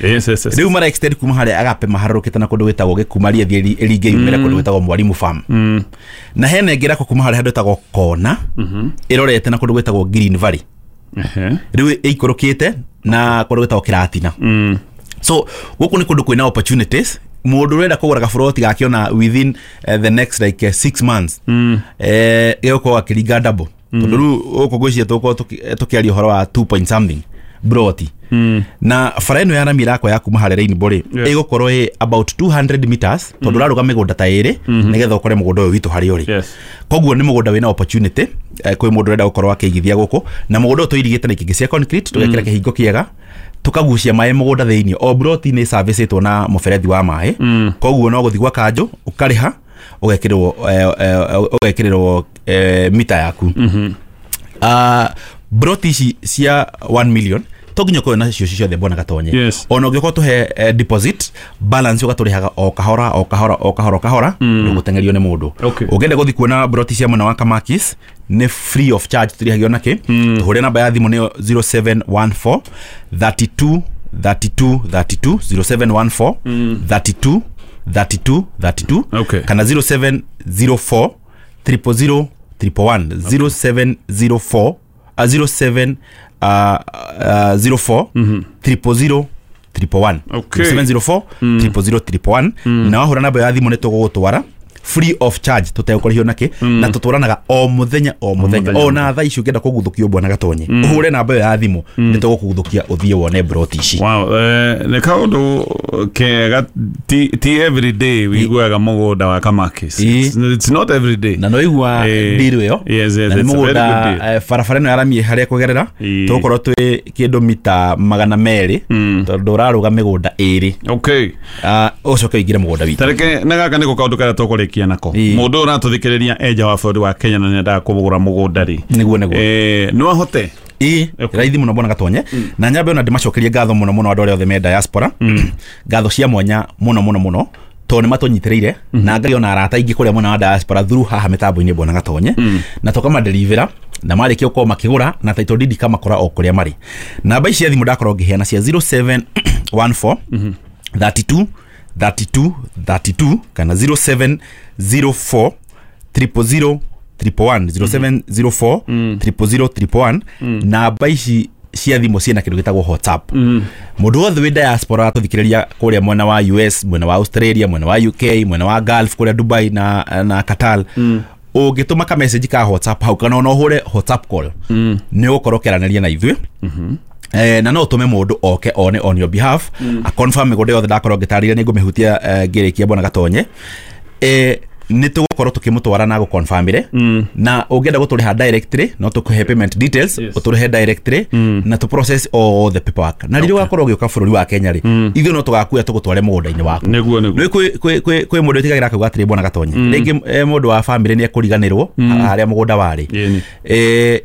[SPEAKER 1] Yes.
[SPEAKER 3] Rĩu mara extend kuma harĩa Agape maharũrũkĩte na kũndũ gwĩtagwo Gĩkumaria ĩthiĩ ĩringe yumĩre kũndũ gwĩtagwo Mwalimu Farm. Na hena ĩngĩ ĩrakwo kuma harĩa handũ hetagwo Kona, ĩrorete na kũndũ gwĩtagwo Green Valley. Rĩu ĩikũrũkĩte na kũndũ gwĩtagwo Kĩratina. So gũkũ nĩ kũndũ kwĩna opportunities. Mũndũ ũrenda kũgũra gaburoti gake ona within the next like 6 months, gĩgũkorwo akĩringa double, tondũ rĩu gũkũ ngwĩciria tũgũkorwo tũkĩaria ũhoro wa 2 point something broti. Na bara ĩno ya rami ĩrakwa ya kuma harĩa Rainbow rĩ, ĩgũkorwo ĩ about 200 meters, tondũ ũrarũga mĩgũnda ta ĩrĩ nĩgetha ũkore mũgũnda ũyũ witũ harĩa ũrĩ. Koguo nĩ mũgũnda wĩna opportunity kwĩ mũndũ ũrenda gũkorwo akĩigithia gũkũ, na mũgũnda ũyũ tũirigĩte na ikĩngĩ cia concrete, tũgekĩra kĩhingo kĩega, tukagucia maĩ mũgũnda thĩinĩ. O broti nĩ servicĩtwo na mũberethi wa maĩ, koguo no gũthiĩ gwa kanjũ ũkarĩha, ũgekĩrĩrwo mita yaku. Broti ici cia 1 million to nginya ũkorwo nacio ciothe bwana Gatonye. Ona ũngĩkorwo tũhe deposit balance, ũgatũrĩhaga o kahora o kahora o kahora o kahora, ndũgũteng'erio nĩ mũndũ. Ũngĩenda gũthiĩ kuona broti cia mwena wa Kamakis nĩ free of charge, tũrĩhagio nakĩ. Tũhũre namba ya thimũ nĩyo 0714 32 32 32, 0714 32 32 32, kana 0704 000 111, 0704 07 04 000 111, 704 000 111. Na wahũra namba ya thimũ nĩ tũgũgũtwara free of charge, tũtegũkũrĩhio nakĩ, na tũtwaranaga o mũthenya o mũthenya. Ona thaa ici ũngĩenda kũguthũkio bwana Gatonye, ũhũre namba ĩyo ya thimũ, nĩ tũgũkũguthũkia ũthiĩ wone broti ici.
[SPEAKER 1] Wow, nĩ kaũndũ kega. Ti every day wĩiguaga mũgũnda wa Kamakis. It's not every day.
[SPEAKER 3] Na no igua deal ĩyo.
[SPEAKER 1] Yes,
[SPEAKER 3] na nĩ
[SPEAKER 1] it's a very good
[SPEAKER 3] mũgũnda
[SPEAKER 1] deal.
[SPEAKER 3] Barabara ĩno ya rami harĩa kũgerera tũgũkorwo twĩ kĩndũ mita 200, tondũ ũrarũga mĩgũnda ĩrĩ. Ũcoke ũingĩre mũgũnda witũ.
[SPEAKER 1] Tareke na gaka nĩko kaũndũ karĩa tũkũrĩkia nako. Mũndũ ũratũthikĩrĩria enja wa bũrũri wa Kenya na nĩendaga kũgũra mũgũnda rĩ,
[SPEAKER 3] Nĩguo.
[SPEAKER 1] No ahote?
[SPEAKER 3] Ĩĩ, raithi mũno bwana Gatonye. Na nyambe ona ndĩmacokerie ngatho mũno mũno andũ arĩa othe me diaspora, ngatho cia mwanya mũno mũno mũno, tondũ nĩ matũnyitĩrĩire, na ngai ona arata aingĩ kũrĩa mwena wa diaspora through haha mĩtambo-inĩ bwana Gatonye, na tũkamadeliver, na marĩkia gũkorwo makĩgũra na title deed ikamakora o kũrĩa marĩ. Namba ici cia thimũ ndakorwo ngĩheana cia 0714 32 32 32, kana 0704 000 111, 0704 000 111. Namba ici cia thimũ ciĩna kĩndũ gĩtagwo WhatsApp. Mũndũ wothe wĩ diaspora atũthikĩrĩria kũrĩa mwena wa US, mwena wa Australia, mwena wa UK, mwena wa Gulf kũrĩa Dubai na Qatar, ũngĩtũma ka message ka WhatsApp hau, kana ona ũhũre WhatsApp call, nĩ ũgũkorwo ũkĩaranĩria na ithuĩ. Na no tume mundu oke one on your behalf a confirm migunda yothe ndakorwo ngitariria ni ngumihutia ngirikia bwana Gatonye. Nĩ tũgũkorwo tũkĩmũtwara na gũconfirmire na ũngĩenda gũtũrĩha directly no tũkũhe payment details ũtũrĩhe directly na tũ process all the paperwork. Na rĩrĩa ũgakorwo ũgĩũka bũrũri wa Kenya rĩ, ithuĩ no tũgakuoya tũgũtware mũgũnda-inĩ waku.
[SPEAKER 1] Nĩguo nĩguo.
[SPEAKER 3] Nĩ kwĩ mũndũ wĩtigagĩra akauga atĩrĩ bwana Gatonye, rĩngĩ mũndũ wa family nĩ ekũriganĩrwo harĩa mũgũnda warĩ,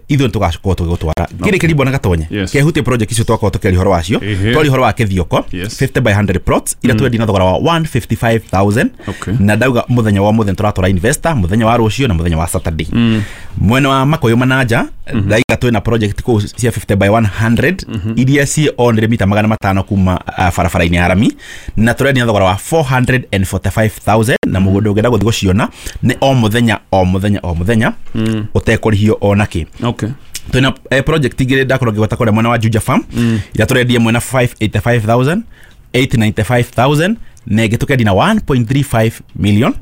[SPEAKER 3] ithuĩ nĩ tũgakorwo tũgĩgũtwara. Ngĩrĩkĩria bwana Gatonye, kehutie project icio twakorwo tũkĩaria ũhoro wacio. Twaria ũhoro wa Kĩthioko 50 by 100 plots iria twendia na thogora wa 155,000 na ndauga mũthenya wa mũthenya tũratwara investor muthenya wa rũciũ na muthenya wa Saturday. Mwena wa Makoyo Manaja ndaiga twina project kuu cia 50 by 100 iria ci on mita 500 kuma barabara-inĩ ya rami na tũrendia thogora wa 445,000 na mũgũnda ũngĩenda gũthiĩ gũciona nĩ o mũthenya o mũthenya o mũthenya ũtekũrĩhio ona kĩ.
[SPEAKER 1] Okay.
[SPEAKER 3] Twina project igĩrĩ ndakorwo ngĩgweta kũrĩa mwena wa Juja Farm iria tũrendia mwena 585,000 895,000 na ĩngĩ na 1.35 million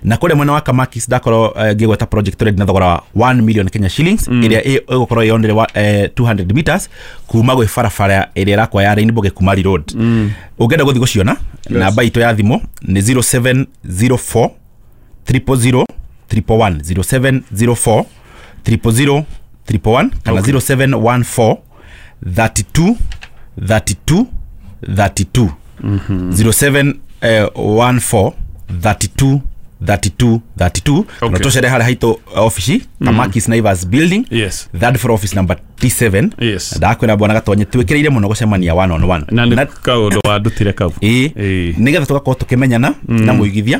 [SPEAKER 3] na kũrĩa mwena wa Kamakis ndakorwo ngĩgweta project tũrendia na thogora wa 1 million Kenya shillings ĩrĩa ĩgũkorwo yonere 200 meters kuma gwĩ barabara ĩrĩa ĩrakwa ya Rainbow Gĩkumari Road. Ũngĩenda gũthiĩ gũciona namba itũ ya thimũ nĩ 0704 000 111 0704 000 111 kana 0714 32 32 32 0714 32 32 32. Na tucere harĩa haitũ ofici Kamakis Naivas building.
[SPEAKER 1] Yes.
[SPEAKER 3] Third floor office number T7.
[SPEAKER 1] Yes.
[SPEAKER 3] Ndakwĩra bwana Gatonye twĩkĩrĩire mũno gũcemania one on one
[SPEAKER 1] na nĩ kaũndũ wandutire kau
[SPEAKER 3] nĩgetha tũgakorwo tũkĩmenyana na mũigithia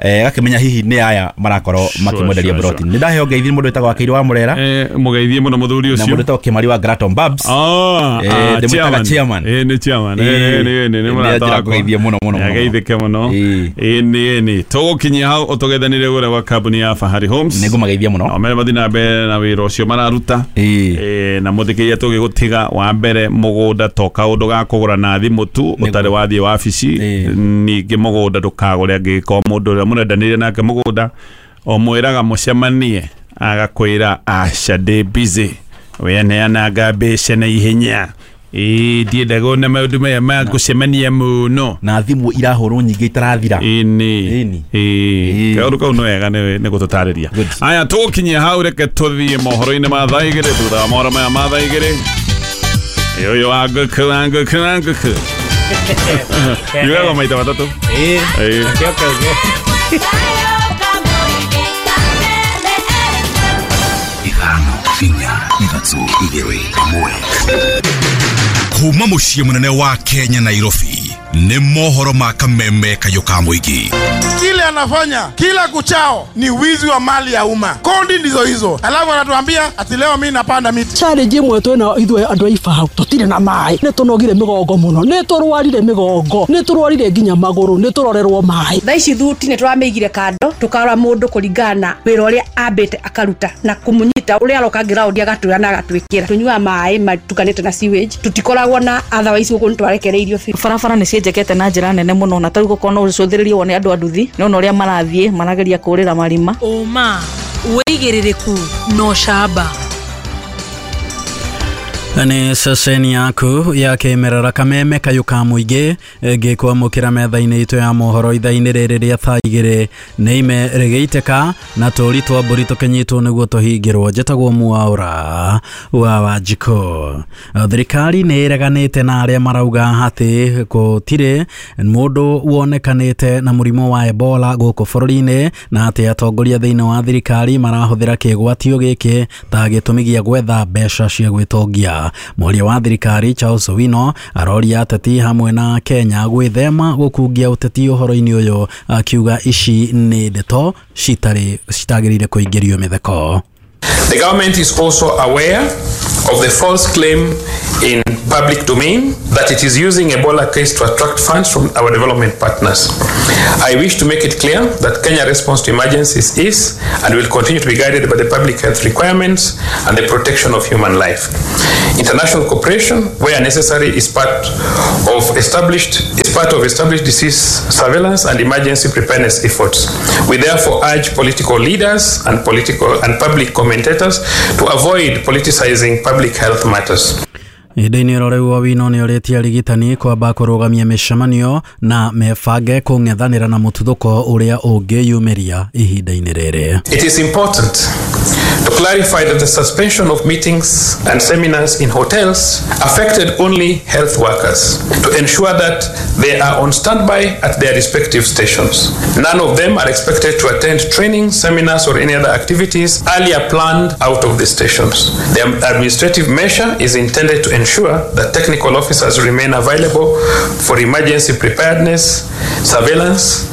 [SPEAKER 3] gakĩmenya hihi nĩ aya marakorwo makĩmwenderia broti. Nĩ ndaheo ngeithi mũndũ wĩtagwo Wakiri wa Mũrera,
[SPEAKER 1] mũgeithie mũno mũthuri ũcio,
[SPEAKER 3] na mũndũ wĩtagwo Kĩmari wa Graton Babs. Ndĩmwĩtaga chairman.
[SPEAKER 1] Nĩ chairman. Nĩ mũrata wakwa.
[SPEAKER 3] Ngeithie mũno mũno.
[SPEAKER 1] Ageithĩke mũno. Nĩ tũgũkinyia hau ũtũgethanĩre gũrĩa gwa kambuni ya Fahari Homes.
[SPEAKER 3] Nĩngũmageithia mũno.
[SPEAKER 1] Nao mere mathiĩ na mbere na wĩra ũcio mararuta. Na mũthikĩria tũgĩgũtiga wa mbere mũgũnda to kaũndũ ga kũgũra na thimũ tu ũtarĩ wathiĩ wabici. Ningĩ mũgũnda ndũkagũre angĩkorwo mũndũ ũrĩa mũrendanĩire nake mũgũnda ũmwĩraga mũcemanie agakwĩra aca ndĩ busy weneanaga mbeca na ihenya ndiendaga ona maũndũ maya ma gũcemania mũno
[SPEAKER 3] na thimũ irahũrwo nyingĩ itarathira.
[SPEAKER 1] Ĩni kaũndũ kau nĩ wega nĩ gũtũtarĩria. Aya tũgũkinyia hau, reke tũthiĩ mohoro-inĩ ma thaa igĩrĩ. Thutha wa mohoro maya ma thaa igĩrĩ ũyũ wa ngũkũ wa ngũkũ wa ngũkũ yugaga maita matatũ.
[SPEAKER 4] Ithano inya ithatũ igĩrĩ ĩmwe. Kuma mũciĩ mũnene wa Kenya Nairobi nĩ mohoro ma kameme kayũ ka mũingĩ.
[SPEAKER 6] Kile anafanya kila kuchao ni wizi wa mali ya umma. Kodi ndizo hizo. Alafu anatuambia ati leo mimi napanda miti.
[SPEAKER 7] Challenge imwe twina ithuĩ andũ a Ibahau tũtirĩ na maĩ. Nĩ tũnogire mĩgongo mũno. Nĩ tũrwarire mĩgongo. Nĩ tũrwarire nginya magũrũ. Nĩ tũrorerwo maĩ.
[SPEAKER 8] Thaa ici thuti nĩ tũramĩigire kando tũkarora mũndũ kũringana na wĩra ũrĩa ambĩte akaruta na kũmũnyita ũrĩa aroka ground agatwĩra na agatwĩkĩra. Tũnyuaga maĩ matukanĩte na sewage. Tũtikoragwo na otherwise gũkũ nĩ twarekereirio biũ.
[SPEAKER 9] Barabara nĩ cienjekete na njĩra nene mũno na tarĩu gũkorwo no ũcũthĩrĩrie wone andũ a nduthi nĩ ona ũrĩa marathiĩ marageria kũrĩra marima.
[SPEAKER 10] Ũma wĩigĩrĩrĩku no camba.
[SPEAKER 11] Nĩ ceceni yaku ya kĩmerera kameme kayũ ka mũingĩ ngĩkwamũkĩra metha-inĩ itũ ya mohoro ithaa-inĩ rĩrĩ rĩa thaa igĩrĩ nĩ ime rĩgĩitĩka na tũri twa mbũri tũkĩnyitwo nĩguo tũhingĩrwo. Njĩtagwo Mwaũra wa Wanjikũ. Thirikari nĩ ĩreganĩte na arĩa marauga atĩ gũtirĩ mũndũ wonekanĩte na mũrimũ wa Ebola gũkũ bũrũri-inĩ na atĩ atongoria thĩinĩ wa thirikari marahũthĩra kĩgwatio gĩkĩ ta gĩtũmi gĩa gwetha mbeca cia gwĩtongia. Mwaria wa thirikari Charles Owino aroria ateti hamwe na Kenya gwĩthema gũkungia ũteti ũhoro-inĩ ũyũ akiuga ici nĩ ndeto citagĩrĩire kũingĩrio mĩtheko.
[SPEAKER 12] The government is also aware of the false claim in public domain that it is using Ebola case to attract funds from our development partners. I wish to make it clear that Kenya response to emergencies is and will continue to be guided by the public health requirements and the protection of human life. International cooperation, where necessary, is part of established disease surveillance and emergency preparedness efforts. We therefore urge political leaders and political and public commentators to avoid politicizing public health matters.
[SPEAKER 11] Ihinda-inĩ oro rĩu Owino nĩorĩtie arigitani kwamba kũrũgamia mĩcemanio na mebange kũng'ethanĩra na mũtuthũko ũrĩa ũngĩyumĩria ihinda-inĩ rĩrĩ.
[SPEAKER 12] It is important to clarify that the suspension of meetings and seminars in hotels affected only health workers to ensure that they are on standby at their respective stations. None of them are expected to attend training, seminars, or any other activities earlier planned out of the stations. The administrative measure is intended to ensure that technical officers remain available for emergency preparedness, surveillance,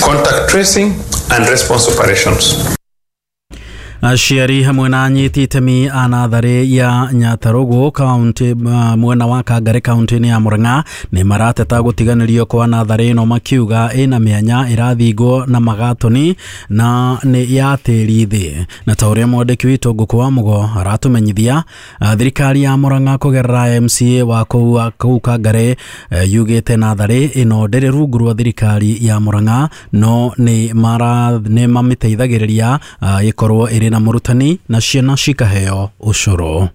[SPEAKER 12] contact tracing, and response operations.
[SPEAKER 11] Aciari hamwe na anyiti itemi a natharĩ ya Nyatarũgũ kaunti mwena wa Kangari kaunti-inĩ ya Murang'a nĩ marateta gũtiganĩrio kwa natharĩ ĩno makiuga ĩna mĩanya ĩrathingwo na magatoni na nĩ ya tĩri thĩ. Na ta ũrĩa mwandĩki witũ Ngũkũ wa Mũgo aratũmenyithia, thirikari ya Murang'a kũgerera MCA wa kũu Kangari yugĩte natharĩ ĩno ndĩrĩ rungu rwa thirikari ya Murang'a no nĩ mamĩteithagĩrĩria ĩkorwo ĩrĩ na mũrutani na ciana cikaheo ũcũrũ.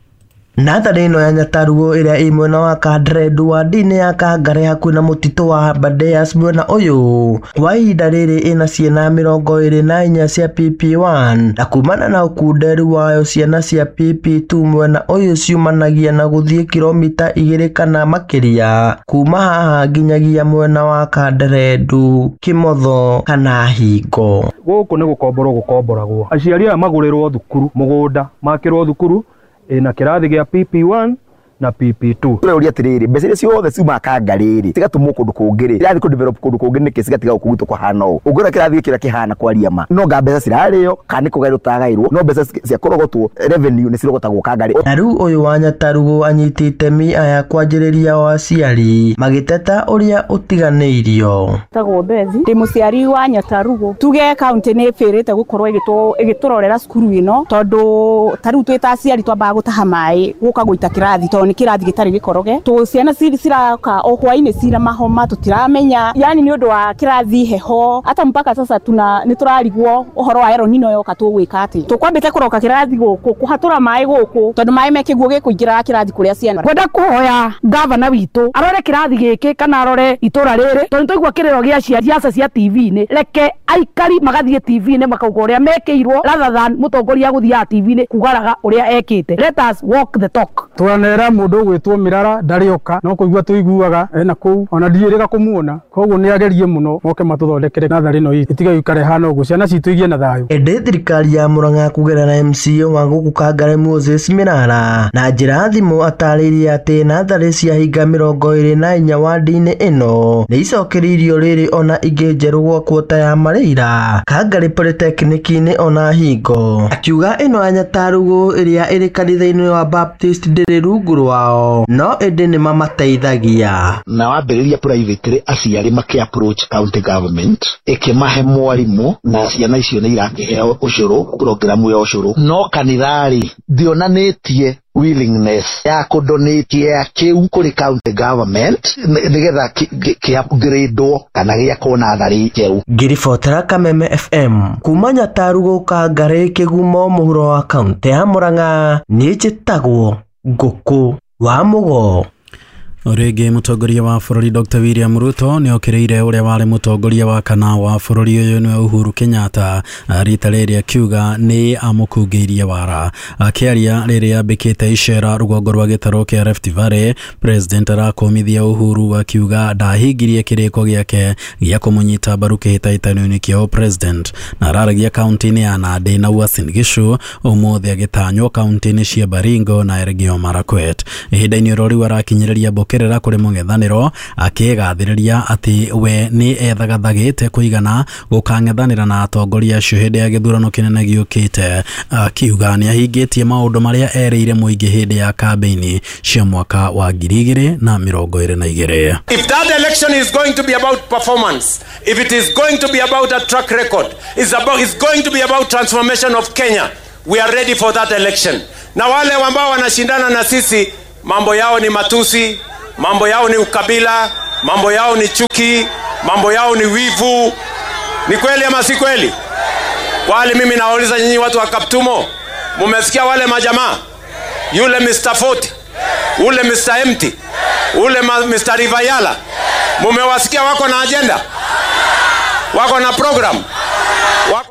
[SPEAKER 13] Natharĩ ĩno ya Nyatarũgũ ĩrĩa ĩ mwena wa Kandrendu wadi-inĩ ya Kangari hakuhĩ na mũtitũ wa Aberdares mwena ũyũ kwa ihinda rĩrĩ ĩna ciana 24 cia PP1 na kumana na ũkunderu wayo ciana cia PP2 mwena ũyũ ciumanagia na gũthiĩ kilomita 2 kana makĩria kuma haha nginyagia mwena wa Kandrendu, Kĩmotho kana Hingo.
[SPEAKER 14] Gũkũ nĩ gũkomborwo gũkomboragwo, aciari aya magũrĩrwo thukuru mũgũnda makĩrwo thukuru ina kĩrathi gĩa PP1 na PP2.
[SPEAKER 15] Tũrauria atĩrĩrĩ, mbeca iria ciothe ciumaga Kangari rĩ cigatũmwo kũndũ kũngĩ rĩ, irathiĩ kũ-develop kũndũ kũngĩ nĩkĩ cigatiga gũkũ gwitũ kũhana ũũ? Ũngĩona kĩrathi gĩkĩ ũrĩa kĩhana kwaria ma, no nga mbeca cirarĩo kana nĩ kũgaĩrwo tũtagaĩrwo, no mbeca cia kũrogotwo revenue nĩ cirogotagwo Kangari.
[SPEAKER 13] Na rĩu ũyũ wa Nyatarũgũ anyiti itemi aya kwanjĩrĩria o aciari magĩteta ũrĩa ũtiganĩirio.
[SPEAKER 16] Tagwo Bethi, ndĩ mũciari wa Nyatarũgũ. Tuge kaunti nĩ ĩbĩrĩte gũkorwo ĩgĩtũrorera cukuru ĩno tondũ ta rĩu twĩ ta aciari twambaga gũtaha maĩ gũka gũita kĩrathi tondũ nĩ kĩrathi gĩtarĩ gĩkoroge. Tũ ciana ciraka o hwainĩ cina mahoma tũtiramenya, yani nĩ ũndũ wa kĩrathi heho. Hata mpaka sasa tuna nĩ tũrarigwo ũhoro wa El Nino yoka tũgwĩka atĩ. Tũkwambĩte kũroka kĩrathi gũkũ kũhatũra maĩ gũkũ tondũ maĩ me kĩguũ gĩkũingĩra kĩrathi kũrĩa ciana.
[SPEAKER 17] Ngwenda kũhoya gavana witũ arore kĩrathi gĩkĩ kana arore itũra rĩrĩ tondũ nĩtwaigua kĩrĩro gĩa ciaca cia TV-inĩ. Reke aikari magathiĩ TV-inĩ makauga ũrĩa mekĩirwo rather than mũtongoria gũthiaga TV-inĩ kugaraga ũrĩa ekĩte. Let us walk the talk.
[SPEAKER 18] Twanera mũndũ ũgwĩtwo Mirara ndarĩ oka no kũigua tũiguaga ena kũu ona ndiĩrĩga kũmuona, koguo nĩ agerie mũno moke matũthondekere natharĩ ĩno itũ ĩtige gũikara ĩhana ũguo, ciana citũ igie na thayũ.
[SPEAKER 13] Ĩndĩ thirikari ya Murang'a kũgerera MCA wa gũkũ Kangari Moses Mirara na njĩra thimũ atarĩirie atĩ natharĩ cia hinga 24 wadi-inĩ ĩno nĩ icokereirio rĩrĩ ona ingĩ njerũ gwa kwota ya Mareira, Kangari Polytechnic-inĩ ona Hingo. Akiuga ĩno ya Nyatarũgũ ĩrĩa ĩrĩ kanitha-inĩ wa Baptist ndĩrĩ rungu rwao no ĩndĩ nĩ mamateithagia.
[SPEAKER 19] Na wambĩrĩria private rĩ, aciari makĩ approach county government ĩkĩmahe mwarimũ na ciana icio nĩ irakĩheo ũcũrũ, programu ya ũcũrũ. No kanitha rĩ ndionanĩtie willingness ya kũdonate ya kĩu kũrĩ county government nĩgetha kĩ-upgrade-wo kana gĩakwo natharĩ njerũ.
[SPEAKER 13] Ngĩribotera Kameme FM kuma Nyatarũgũ Kangari Kĩgumo mũhuro wa kaunti ya Murang'a, niĩ njĩtagwo Ngũkũ wa Mũgo.
[SPEAKER 11] Rĩngĩ mũtongoria wa bũrũri Dr. William Ruto nĩ okĩrĩire ũrĩa warĩ mũtongoria wa kana wa bũrũri ũyũ nĩwe Uhuru Kenyatta rita rĩrĩ akiuga nĩ amũkungĩirie wara. Akĩaria rĩrĩa ambĩkĩte icera rũgongo rwa gĩtarũ kĩa Rift Valley, President arakũmithia Uhuru akiuga ndahingirie kĩrĩko gĩake gĩa kũmũnyita mbaru kĩhĩtahĩtano-inĩ kĩa President, na araragia kaunti-inĩ ya Nandi na Uasin Gishu ũmũthĩ agĩtanywo kaunti-inĩ cia Baringo na Elgeyo Marakwet. Ihinda-inĩ oro rĩu arakinyĩrĩria mbũkĩrĩra kũrĩ mũng'ethanĩro akĩgathĩrĩria atĩ we nĩ ethagathagĩte kũigana gũkang'ethanĩra na atongoria acio hĩndĩ ya gĩthurano kĩnene gĩũkĩte, akiuga nĩ ahingĩtie maũndũ marĩa erĩire mũingĩ hĩndĩ ya kambĩini cia mwaka wa 2022.
[SPEAKER 20] If that election is going to be about performance, if it is going to be about a track record, it's going to be about transformation of Kenya, we are ready for that election. Na wale ambao wanashindana na sisi, mambo yao ni matusi, mambo yao ni ukabila, mambo yao ni chuki, mambo yao ni wivu. Ni kweli ama si kweli? Wale mimi nawauliza nyinyi watu wa Kaptumo, mumesikia wale majamaa? Yule Mr. 40, Ule Mr. Empty, ule Mr. Rivayala, mumewasikia wako na agenda, wako na program, wako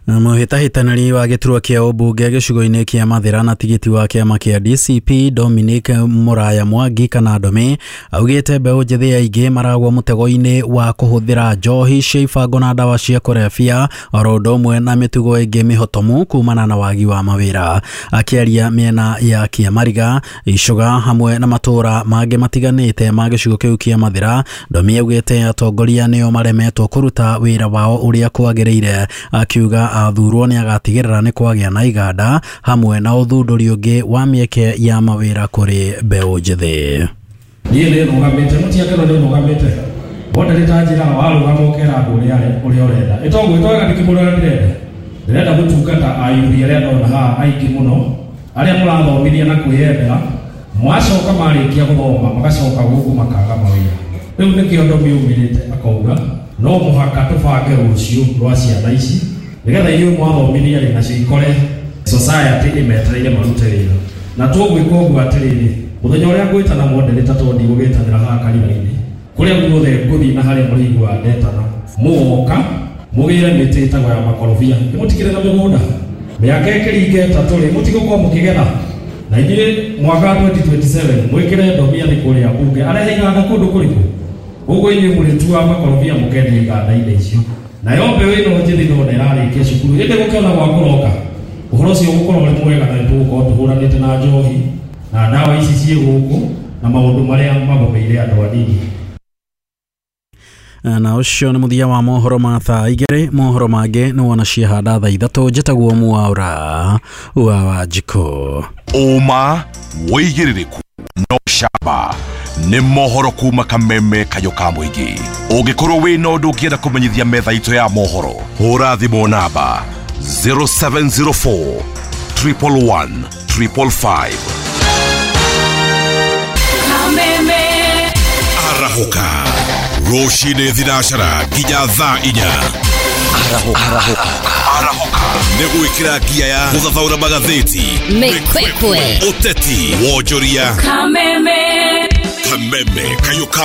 [SPEAKER 11] Mũhĩtahĩtanĩri wa gĩturwa kĩa ũmbunge gĩcigo-inĩ kĩa Mathĩra na tigiti wa kĩama kĩa DCP Dominic Mũraya Mwangi kana Ndome augĩte mbeũ njĩthĩ aingĩ maragwa mũtego-inĩ wa kũhũthĩra njohi cia ibango na ndawa cia kũrebia oro ũndũ ũmwe na mĩtugo ĩngĩ mĩhotomu kumana na wagi wa mawĩra. Akĩaria mĩena ya Kĩamariga, Icũga hamwe na matũũra mangĩ matiganĩte ma gĩcigo kĩu kĩa Mathĩra, Ndomi augĩte atongoria nĩo maremetwo kũruta wĩra wao ũrĩa kwagĩrĩire, akiuga athurwo nĩ agatigĩrĩra nĩ kwagĩa na iganda hamwe na ũthundũri ũngĩ wa mĩeke ya mawĩra kũrĩ mbeũ njĩthĩ.
[SPEAKER 21] Niĩ nĩ nũgamĩte mũtiakĩro nĩ nũgamĩte wonde ta njĩraga warũgama ũkera andũ ũrĩa ũrenda ĩtogwĩtwega ndĩkĩmũrĩa ndĩrenda ndĩrenda gũtungata ayuthi arĩa ndona haha aingĩ mũno arĩa mũrathomithia na kwĩyendera mwacoka marĩkia gũthoma magacoka gũkũ makaga mawĩra. Rĩu nĩkĩo Ndomi umĩrĩte akauga no mũhaka tũbange rũciũ rwa ciana ici nĩgetha inyuĩ mwathomithia rĩ nacio ikore society ĩmetereire marute wĩra. Na tũgwĩka ũguo atĩrĩrĩ, mũthenya ũrĩa ngwĩtana mondereta tondũ ndigũgĩtanĩra haha kanitha-inĩ kũrĩa guothe ngũthiĩ na harĩa mũrĩiguaga ndetana mũgoka mũgĩre mĩtĩ ĩtagwo ya makorobia nĩmũtikĩrĩ na mĩgũnda mĩaka ĩkĩringa ĩtatũ rĩ mũtigũkorwo mũkĩgetha na inyuĩ mwaka 2027 mwĩkĩre Ndomi athĩ kũrĩa mbunge arehe iganda kũndũ kũrĩkũ ũguo inyuĩ mũrĩtua makorobia mũkendia iganda-inĩ icio. Nayo mbeũ ĩno njĩthĩ ndona ĩrarĩkia cukuru ĩndĩ gũkĩona gwa kũroka ũhoro ũcio ũgũkorwo ũrĩ mwega na nĩtũgũkorwo tũhũranĩte na njohi na ndawa ici ciĩ gũkũ na maũndũ marĩa magomeire andũ anini.
[SPEAKER 11] Na ũcio nĩ mũthia wa mohoro ma thaa igĩrĩ. Mohoro mangĩ nĩ wona ciahanda thaa ithatũ. Njĩtagwo Mwaura wa Wanjikũ.
[SPEAKER 4] Ũma wĩigĩrĩrĩku no camba nĩ mohoro kuma Kameme kayũ ka mũingĩ. Ũngĩkorwo wĩna ũndũ ũngĩenda kũmenyithia metha itũ ya mohoro, hũra thimũ namba 0704 111 555.
[SPEAKER 10] Kameme
[SPEAKER 4] Arahũka rũcinĩ thinacara nginya thaa inya. Arahũka nĩ gwĩkĩra ngia ya gũthathaũra magathĩti,
[SPEAKER 10] Mĩkwekwe,
[SPEAKER 4] ũteti, wonjoria.
[SPEAKER 10] Kameme.
[SPEAKER 4] Kameme kayũ ka